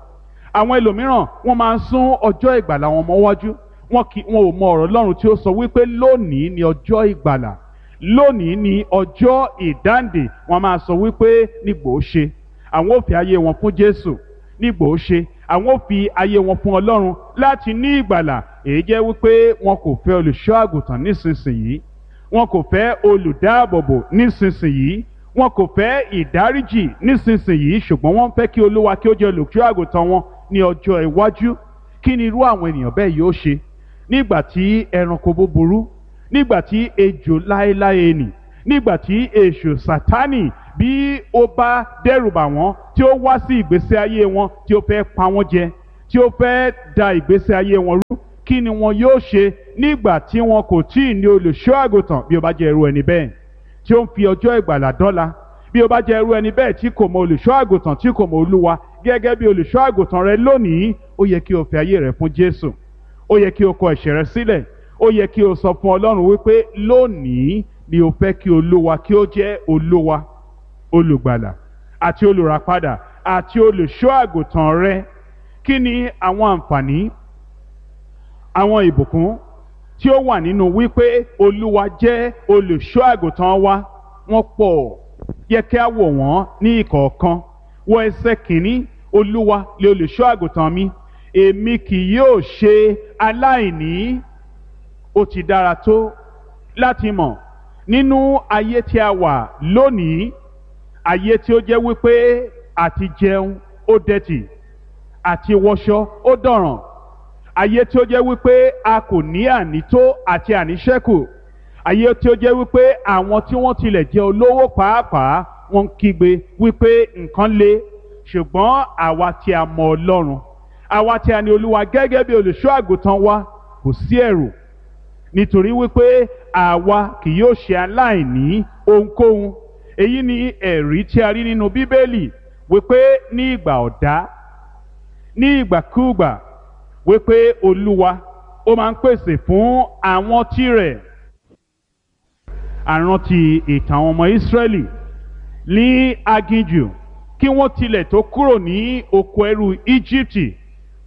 Àwọn ẹlòmíràn wọ́n máa ń sún ọjọ́ ìgbàlà wọn mọ́wájú. Wọn kì wọn ò mọ ọ̀rọ̀ Ọlọ́run tí ó sọ wípé lónìí ni ọjọ́ ìgbàlà, lónìí ni ọjọ́ ìdáǹdè. Wọn máa sọ wípé nígbò ó ṣe àwọn ò fi ayé wọn fún Jésù, nígbò ó ṣe àwọn ò fi ayé wọn fún Ọlọ́run láti ní ìgbàlà. Èyí jẹ́ wípé wọn kò fẹ́ olùṣọ́ àgùntàn nísinsìnyí, wọn kò fẹ́ olùdáàbòbò nísinsìnyí, wọn kò fẹ́ ìdáríjì nísinsìnyí, ṣùgbọ́n wọ́n fẹ́ kí Olúwa kí ó jẹ́ olùṣọ́ àgùntàn wọn ní ọjọ́ iwájú. Kí ni irú àwọn ènìyàn bẹ́ẹ̀ yóò ṣe nígbà tí ẹranko búburú, nígbà tí ejò láéláé nì, nígbà tí èṣù Sátánì Bí ó bá dẹ́rùbà wọ́n, tí ó wá sí ìgbésí ayé wọn, tí ó fẹ́ pa wọ́n jẹ, tí ó fẹ́ da ìgbésí ayé wọn rú, kí ni wọn yóò ṣe nígbà tí wọn kò tí ì ní olùṣọ́ àgùntàn? Bí ó bá jẹ́ irú ẹni bẹ́ẹ̀ tí ó ń fi ọjọ́ ìgbàlà dọ́là, bí ó bá jẹ́ irú ẹni bẹ́ẹ̀ tí kò mọ olùṣọ́ àgùntàn, tí kò mọ Olúwa gẹ́gẹ́ bí olùṣọ́ àgùntàn rẹ lónìí, ó yẹ kí o fi ayé rẹ fún Jésù. Ó yẹ kí o kọ ẹ̀ṣẹ̀ rẹ sílẹ̀. Ó yẹ kí o sọ fún Ọlọ́run wípé lónìí ni o fẹ́ kí Olúwa kí ó jẹ́ Olúwa, olùgbàlà àti olùràpadà àti olùṣọ́ àgùntàn rẹ. Kí ni àwọn àǹfààní, àwọn ìbùkún tí ó wà nínú wípé Olúwa jẹ́ olùṣọ́ àgùntàn wa? Wọ́n pọ̀. Yẹ kí a wò wọ́n ní ìkọ̀ọ̀kan. Wọ ẹsẹ̀ kìíní: Olúwa lè olùṣọ́ àgùntàn mi, èmi kì yóò ṣe aláìní. Ó ti dára tó láti mọ̀ nínú ayé tí a wà lónìí, ayé tí ó jẹ́ wípé àti jẹun ó dẹ̀tì, àti wọṣọ ó dọ̀ràn, ayé tí ó jẹ́ wípé a kò ní ànító àti àníṣẹ́kù, ayé tí ó jẹ́ wípé àwọn tí wọ́n tilẹ̀ jẹ́ olówó pàápàá wọ́n ń kígbe wípé nǹkan le. Ṣùgbọ́n àwa tí a mọ Ọlọ́run, àwa tí a ní Olúwa gẹ́gẹ́ bí olùṣọ́ àgùntàn wa, kò sí ẹ̀rù, nítorí wípé àwa kì yóò ṣe aláìní ohunkóhun. Èyí ni ẹ̀rí tí a rí nínú Bíbélì wípé ní ìgbà ọ̀dá, ní ìgbàkúùgbà, wípé Olúwa ó máa ń pèsè fún àwọn tirẹ̀. Àrántí ìtàn àwọn ọmọ Ísírẹ́lì ní aginjù kí wọ́n tilẹ̀ tó kúrò ní oko ẹrú Íjíbítì.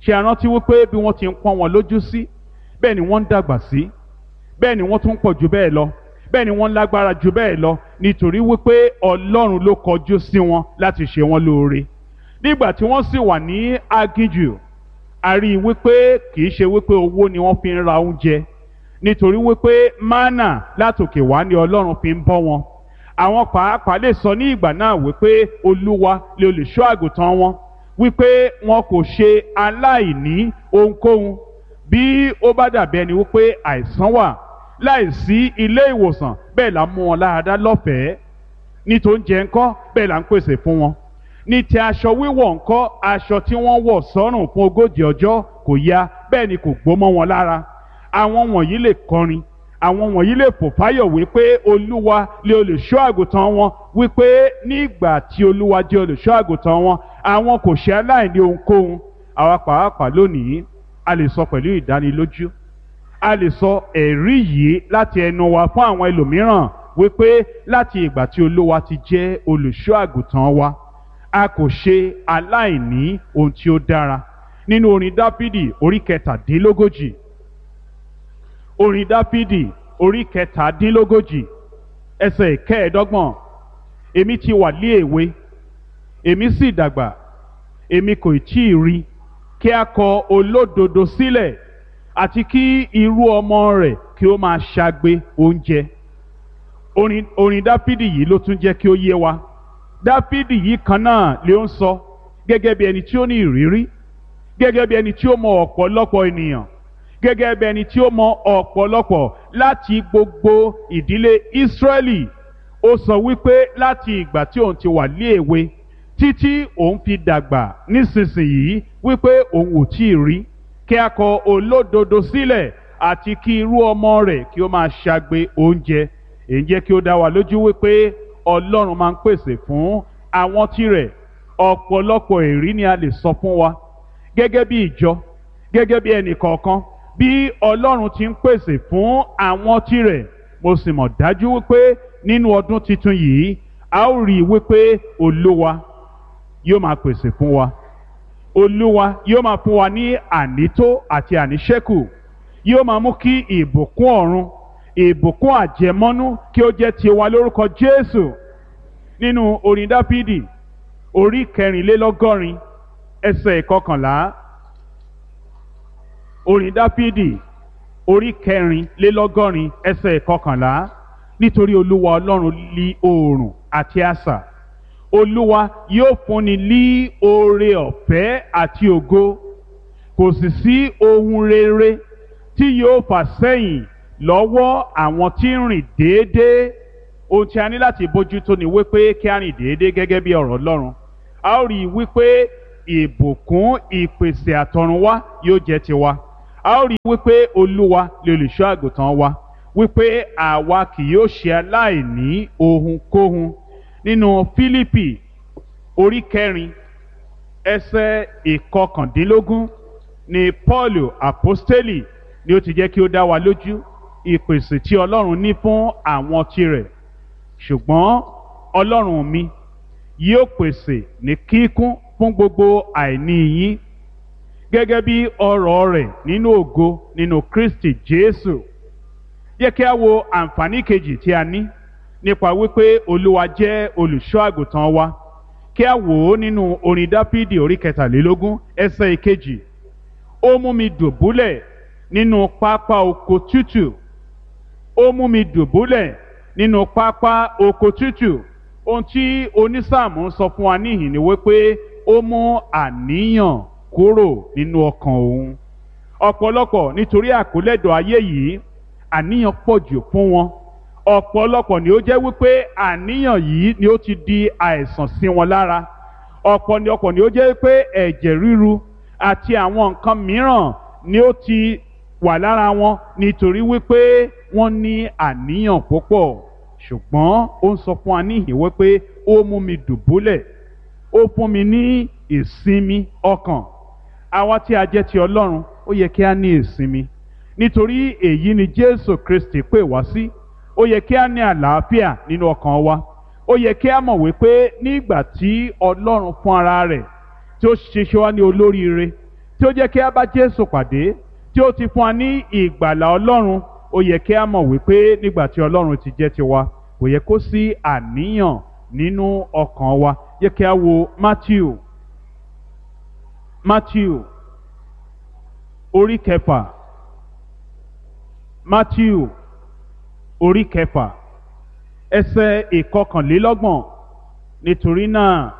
Ṣe àrántí wípé bí wọ́n ti ń pọ́n wọn lójú sí, bẹ́ẹ̀ ni wọ́n ń dàgbà sí, bẹ́ẹ̀ ni wọ́n tún pọ̀ jù bẹ́ẹ̀ lọ, bẹ́ẹ̀ ni wọ́n lágbára jù bẹ́ẹ̀ lọ, nítorí wípé Ọlọ́run ló kọjú sí wọn láti ṣe wọn lóore. Nígbà tí wọ́n sì wà ní aginjù, a rí i wípé kì í ṣe wípé owó ni wọ́n fi ń ra oúnjẹ, nítorí wípé mánà látòkè wá ni Ọlọ́run fi ń bọ́ wọn. Àwọn pàápàá lè sọ ní ìgbà náà wípé Olúwa lè olùṣọ́ àgùntàn wọn, wípé wọn kò ṣe aláìní ohunkóhun. Bí ó bá dàbí ẹni wípé àìsàn wà láìsí ilé ìwòsàn, bẹ́ẹ̀ là ń mú wọn láradá lọ́fẹ̀ẹ́. Ní tó ń jẹ ńkọ́, bẹ́ẹ̀ là ń pèsè fún wọn. Ní ti aṣọ wíwọ̀ ńkọ́, aṣọ tí wọ́n wọ̀ sọ́rùn fún ogójì ọjọ́ kò ya, bẹ́ẹ̀ ni kò gbó mọ́ wọn lára. Àwọn wọ̀nyí lè kọrin, àwọn wọ̀nyí lè fò fáyọ̀ wípé Olúwa lè olùṣọ́ àgùntàn wọn, wípé nígbà tí Olúwa jẹ́ olùṣọ́ àgùntàn wọn, àwọn kò ṣe aláìní ohunkóhun. Àwa pàápàá lónìí a lè sọ pẹ̀lú ìdánilójú, a lè sọ ẹ̀rí yìí láti ẹnu wa fún àwọn ẹlòmíràn wípé láti ìgbà tí Olúwa ti jẹ́ olùṣọ́ àgùntàn wa, a kò ṣe aláìní ohun tí ó dára. Nínú orin Dáfídì orí kẹtàdínlógójì, orin Dáfídì orí kẹtàdínlógójì ẹsẹ̀ ìkẹẹ̀ẹ́dọ́gbọ̀n: èmi ti wà lé èwe, èmi sì dàgbà, èmi kò tí ì rí kí a kọ olódodo sílẹ̀, àti kí irú ọmọ rẹ̀ kí ó máa ṣagbe oúnjẹ. Orin orin Dáfídì yìí ló tún jẹ́ kí ó yé wa. Dáfídì yìí kan náà ló ń sọ gẹ́gẹ́ bí ẹni tí ó ní ìrírí, gẹ́gẹ́ bí ẹni tí ó mọ ọ̀pọ̀lọpọ̀ ènìyàn, gẹ́gẹ́ bí ẹni tí ó mọ ọ̀pọ̀lọpọ̀ láti gbogbo ìdílé Ísírẹ́lì. Ó sọ wípé láti ìgbà tí òun ti wà ní èwe títí òun fi dàgbà nísinsìnyí, wípé òun ò tí ì rí kí a kọ olódodo sílẹ̀, àti kí irú ọmọ rẹ̀ kí ó máa ṣagbe oúnjẹ. Èyí jẹ́ kí ó dá wa lójú wípé Ọlọ́run máa ń pèsè fún àwọn tirẹ̀. Ọ̀pọ̀lọpọ̀ èrí ni a lè sọ fún wa gẹ́gẹ́ bí ìjọ, gẹ́gẹ́ bí ẹnì kọ̀ọ̀kan, bí Ọlọ́run ti ń pèsè fún àwọn tirẹ̀. Mo sì mọ̀ dájú wípé nínú ọdún tuntun yìí, a ó rí i wípé Olúwa yóò máa pèsè fún wa. Olúwa yóò máa fún wa ní ànító àti àníṣẹ́kù. Yóò máa mú kí ìbùkún ọ̀run, ìbùkún àjẹmọ́nú kí ó jẹ́ tiwa lórúkọ Jésù. Nínú orin Dáfídì orí kẹrìnlélọ́gọ́rin ẹsẹ̀ ìkọkànlá, orin Dáfídì orí kẹrìnlélọ́gọ́rin ẹsẹ̀ ìkọkànlá: nítorí Olúwa Ọlọ́run lí oòrùn àti asà, Olúwa yóò fúnni lí oore ọ̀fẹ́ àti ògo, kò sì sí ohun rere tí yóò fà sẹ́yìn lọ́wọ́ àwọn tí ń rìn déédéé. Ohun tí a ní láti bójútó ni wípé kí a rìn déédéé gẹ́gẹ́ bí ọ̀rọ̀ Ọlọ́run. A ó rí i wípé ìbùkún ìpèsè àtọ̀runwá yóò jẹ́ tiwa. A ó rí i wípé Olúwa lè olùṣọ́ àgùntàn wa, wípé àwa kì yóò ṣe aláìní ohunkóhun. Nínú Fílípì orí kẹrin ẹsẹ̀ ìkọkàndínlógún ni Paul àpọ́stélì ni ó ti jẹ́ kí ó dá wa lójú ìpèsè tí Ọlọ́run ní fún àwọn tirẹ̀. Ṣùgbọ́n Ọlọ́run mi yóò pèsè ní kíkún fún gbogbo àìní yín gẹ́gẹ́ bí ọrọ̀ rẹ̀ nínú ògo nínú Kristi Jésù. Yẹ kí a wo àǹfààní kejì tí a ní nípa wípé Olúwa jẹ́ olùṣọ́ àgùntàn wa. Kí a wò ó nínú orin Dáfídì orí kẹtàlélógún ẹsẹ̀ ìkejì. Ó mú mi dùbúlẹ̀ nínú pápá oko tútù. Ó mú mi dùbúlẹ̀ nínú pápá oko tútù. Ohun tí onísáàmù ń sọ fún wa níhìn ni wípé ó mú àníyàn kúrò nínú ọkàn òun. Ọ̀pọ̀lọpọ̀ nítorí àkólẹ́dọ̀ ayé yìí, àníyàn pọ̀ jù fún wọn. Ọ̀pọ̀lọpọ̀ ni ó jẹ́ wípé àníyàn yìí ni ó ti di àìsàn sí wọn lára. Ọ̀pọ̀lọpọ̀ ni ó jẹ́ wípé ẹ̀jẹ̀ ríru àti àwọn nǹkan mìíràn ni ó ti wà lára wọn nítorí wípé wọ́n ní àníyàn púpọ̀. Ṣùgbọ́n ó ń sọ fún wa níhìn wípé ó mú mi dùbúlẹ̀, ó fún mi ní ìsinmi ọkàn. Àwa tí a jẹ́ ti Ọlọ́run, ó yẹ kí a ní ìsinmi, nítorí èyí ni Jésù Kristi pè wá sí. Ó yẹ kí a ní àlàáfíà nínú ọkàn wa. Ó yẹ kí a mọ̀ wípé nígbà tí Ọlọ́run fún ara rẹ̀ tí ó ṣiṣẹ́ wa ní olóríire, tí ó jẹ́ kí a bá Jésù pàdé, tí ó ti fún wa ní ìgbàlà Ọlọ́run, ó yẹ kí a mọ̀ wípé nígbà tí Ọlọ́run ti jẹ́ tiwa, kò yẹ kó sí àníyàn nínú ọkàn wa. Yẹ kí a wo Matthew Matthew orí kẹfà. Matthew orí kẹfà ẹsẹ̀ ìkọkànlélọ́gbọ̀n. Nítorí náà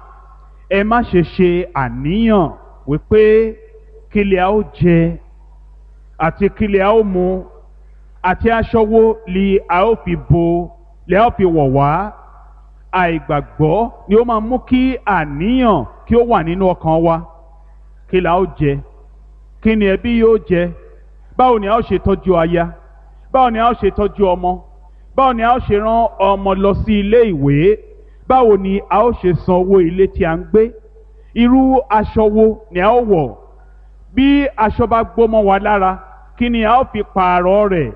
ẹ má ṣe ṣe àníyàn wípé kí lè a ó jẹ àti kí lè a ó mu àti aṣọ wo li a ó fi bo lè a ó fi wọ̀ wá. Àìgbàgbọ́ ni ó máa mú kí àníyàn kí ó wà nínú ọkàn wa. Kí la ó jẹ? Kí ni ẹbí yóò jẹ? Báwo ni a ó ṣe tọ́jú aya? Báwo ni a ó ṣe tọ́jú ọmọ? Báwo ni a ó ṣe rán ọmọ lọ sí ilé ìwé? Báwo ni a ó ṣe san owó ilé tí a ń gbé? Irú aṣọ wo ni a ó wọ̀? Bí aṣọ bá gbó mọ́ wa lára, kí ni a ó fi pààrọ̀ rẹ̀?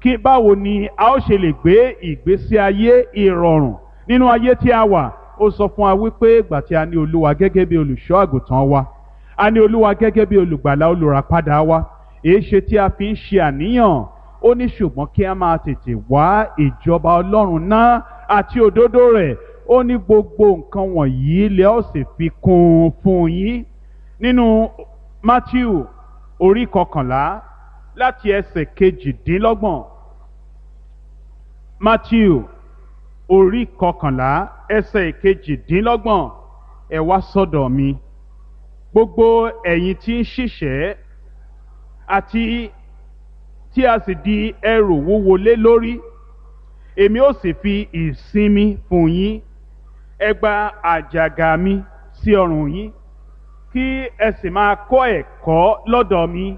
Kí báwo ni a ó ṣe lè gbé ìgbésí ayé ìrọ̀rùn nínú ayé tí a wà? Ó sọ fún wa wípé ìgbà tí a ní Olúwa gẹ́gẹ́ bí olùṣọ́ àgùntàn wa, a ní Olúwa gẹ́gẹ́ bí olùgbàlà olùràpadà wa, èéṣe tí a fi ń ṣe àníyàn? Ó ní ṣùgbọ́n kí a máa tètè wá ìjọba Ọlọ́run náà àti òdodo rẹ̀. Ó ní gbogbo nǹkan wọ̀nyí lẹ ó sì fi kún un fún yín. Nínú Matthew orí kọkànlá láti ẹsẹ̀ kejìdínlọ́gbọ̀n. Matthew orí kọkànlá ẹsẹ̀ kejìdínlọ́gbọ̀n. Ẹ wá sọ́dọ̀ mi, gbogbo ẹ̀yin tí ń ṣiṣẹ́ àti tí a sì di ẹrù wúwo lé lórí, èmi ó sì fi ìsinmi fún yín. Ẹ gba àjàgà mi sí ọrùn yín, kí ẹ sì máa kọ́ ẹ̀kọ́ lọ́dọ̀ mi,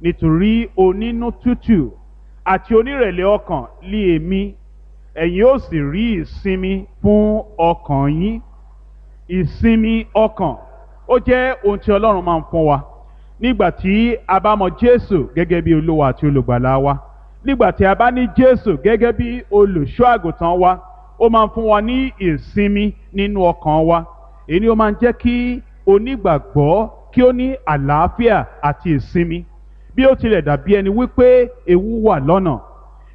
nítorí onínú tútù àti onírẹ̀lẹ̀ ọkàn lé èmi, ẹ̀yin ó sì rí ìsinmi fún ọkàn yín. Ìsinmi ọkàn ó jẹ́ ohun tí Ọlọ́run máa ń fún wa nígbà tí a bá mọ Jésù gẹ́gẹ́ bí Olúwa àti olùgbàlà wa. Nígbà tí a bá ní Jésù gẹ́gẹ́ bí olùṣọ́ àgùntàn wa, ó máa ń fún wa ní ìsinmi nínú ọkàn wa. Èyí ni ó máa ń jẹ́ kí onígbàgbọ́ kí ó ní àlàáfíà àti ìsinmi. Bí ó tilẹ̀ dàbí ẹni wípé ewu wà lọ́nà,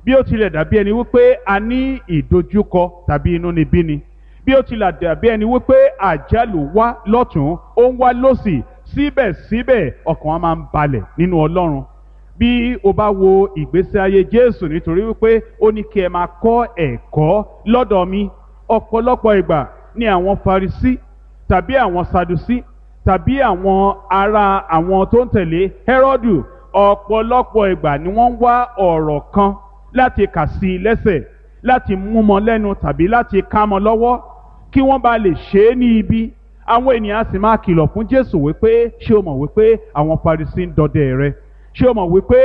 bí ó tilẹ̀ dàbí ẹni wípé a ní ìdojúkọ tàbí inúnibíni, bí ó tilẹ̀ dàbí ẹni wípé àjálù wá lọ́tún ó ń wá lọ́sì, síbẹ̀síbẹ̀ ọkàn wa máa ń balẹ̀ nínú Ọlọ́run. Bí o bá wo ìgbésí ayé Jésù, nítorí wípé ó ní kí ẹ máa kọ́ ẹ̀kọ́ lọ́dọ̀ mi. Ọ̀pọ̀lọpọ̀ ìgbà ni àwọn Farisí tàbí àwọn Sadusí tàbí àwọn ará àwọn tó ń tẹ̀lé Hẹ́rọ́dù, ọ̀pọ̀lọpọ̀ ìgbà ni wọ́n ń wá ọ̀rọ̀ kan láti kà sí i lẹ́sẹ̀, láti mú mọ́ lẹ́nu tàbí láti ká mọ́ lọ́wọ́ kí wọ́n bá lè ṣe é ní ibi. Àwọn ènìyàn sì máa kìlọ̀ fún Jésù wípé, ṣé o mọ̀ wípé àwọn Farisí ń dọdẹ rẹ? Ṣé o mọ̀ wípé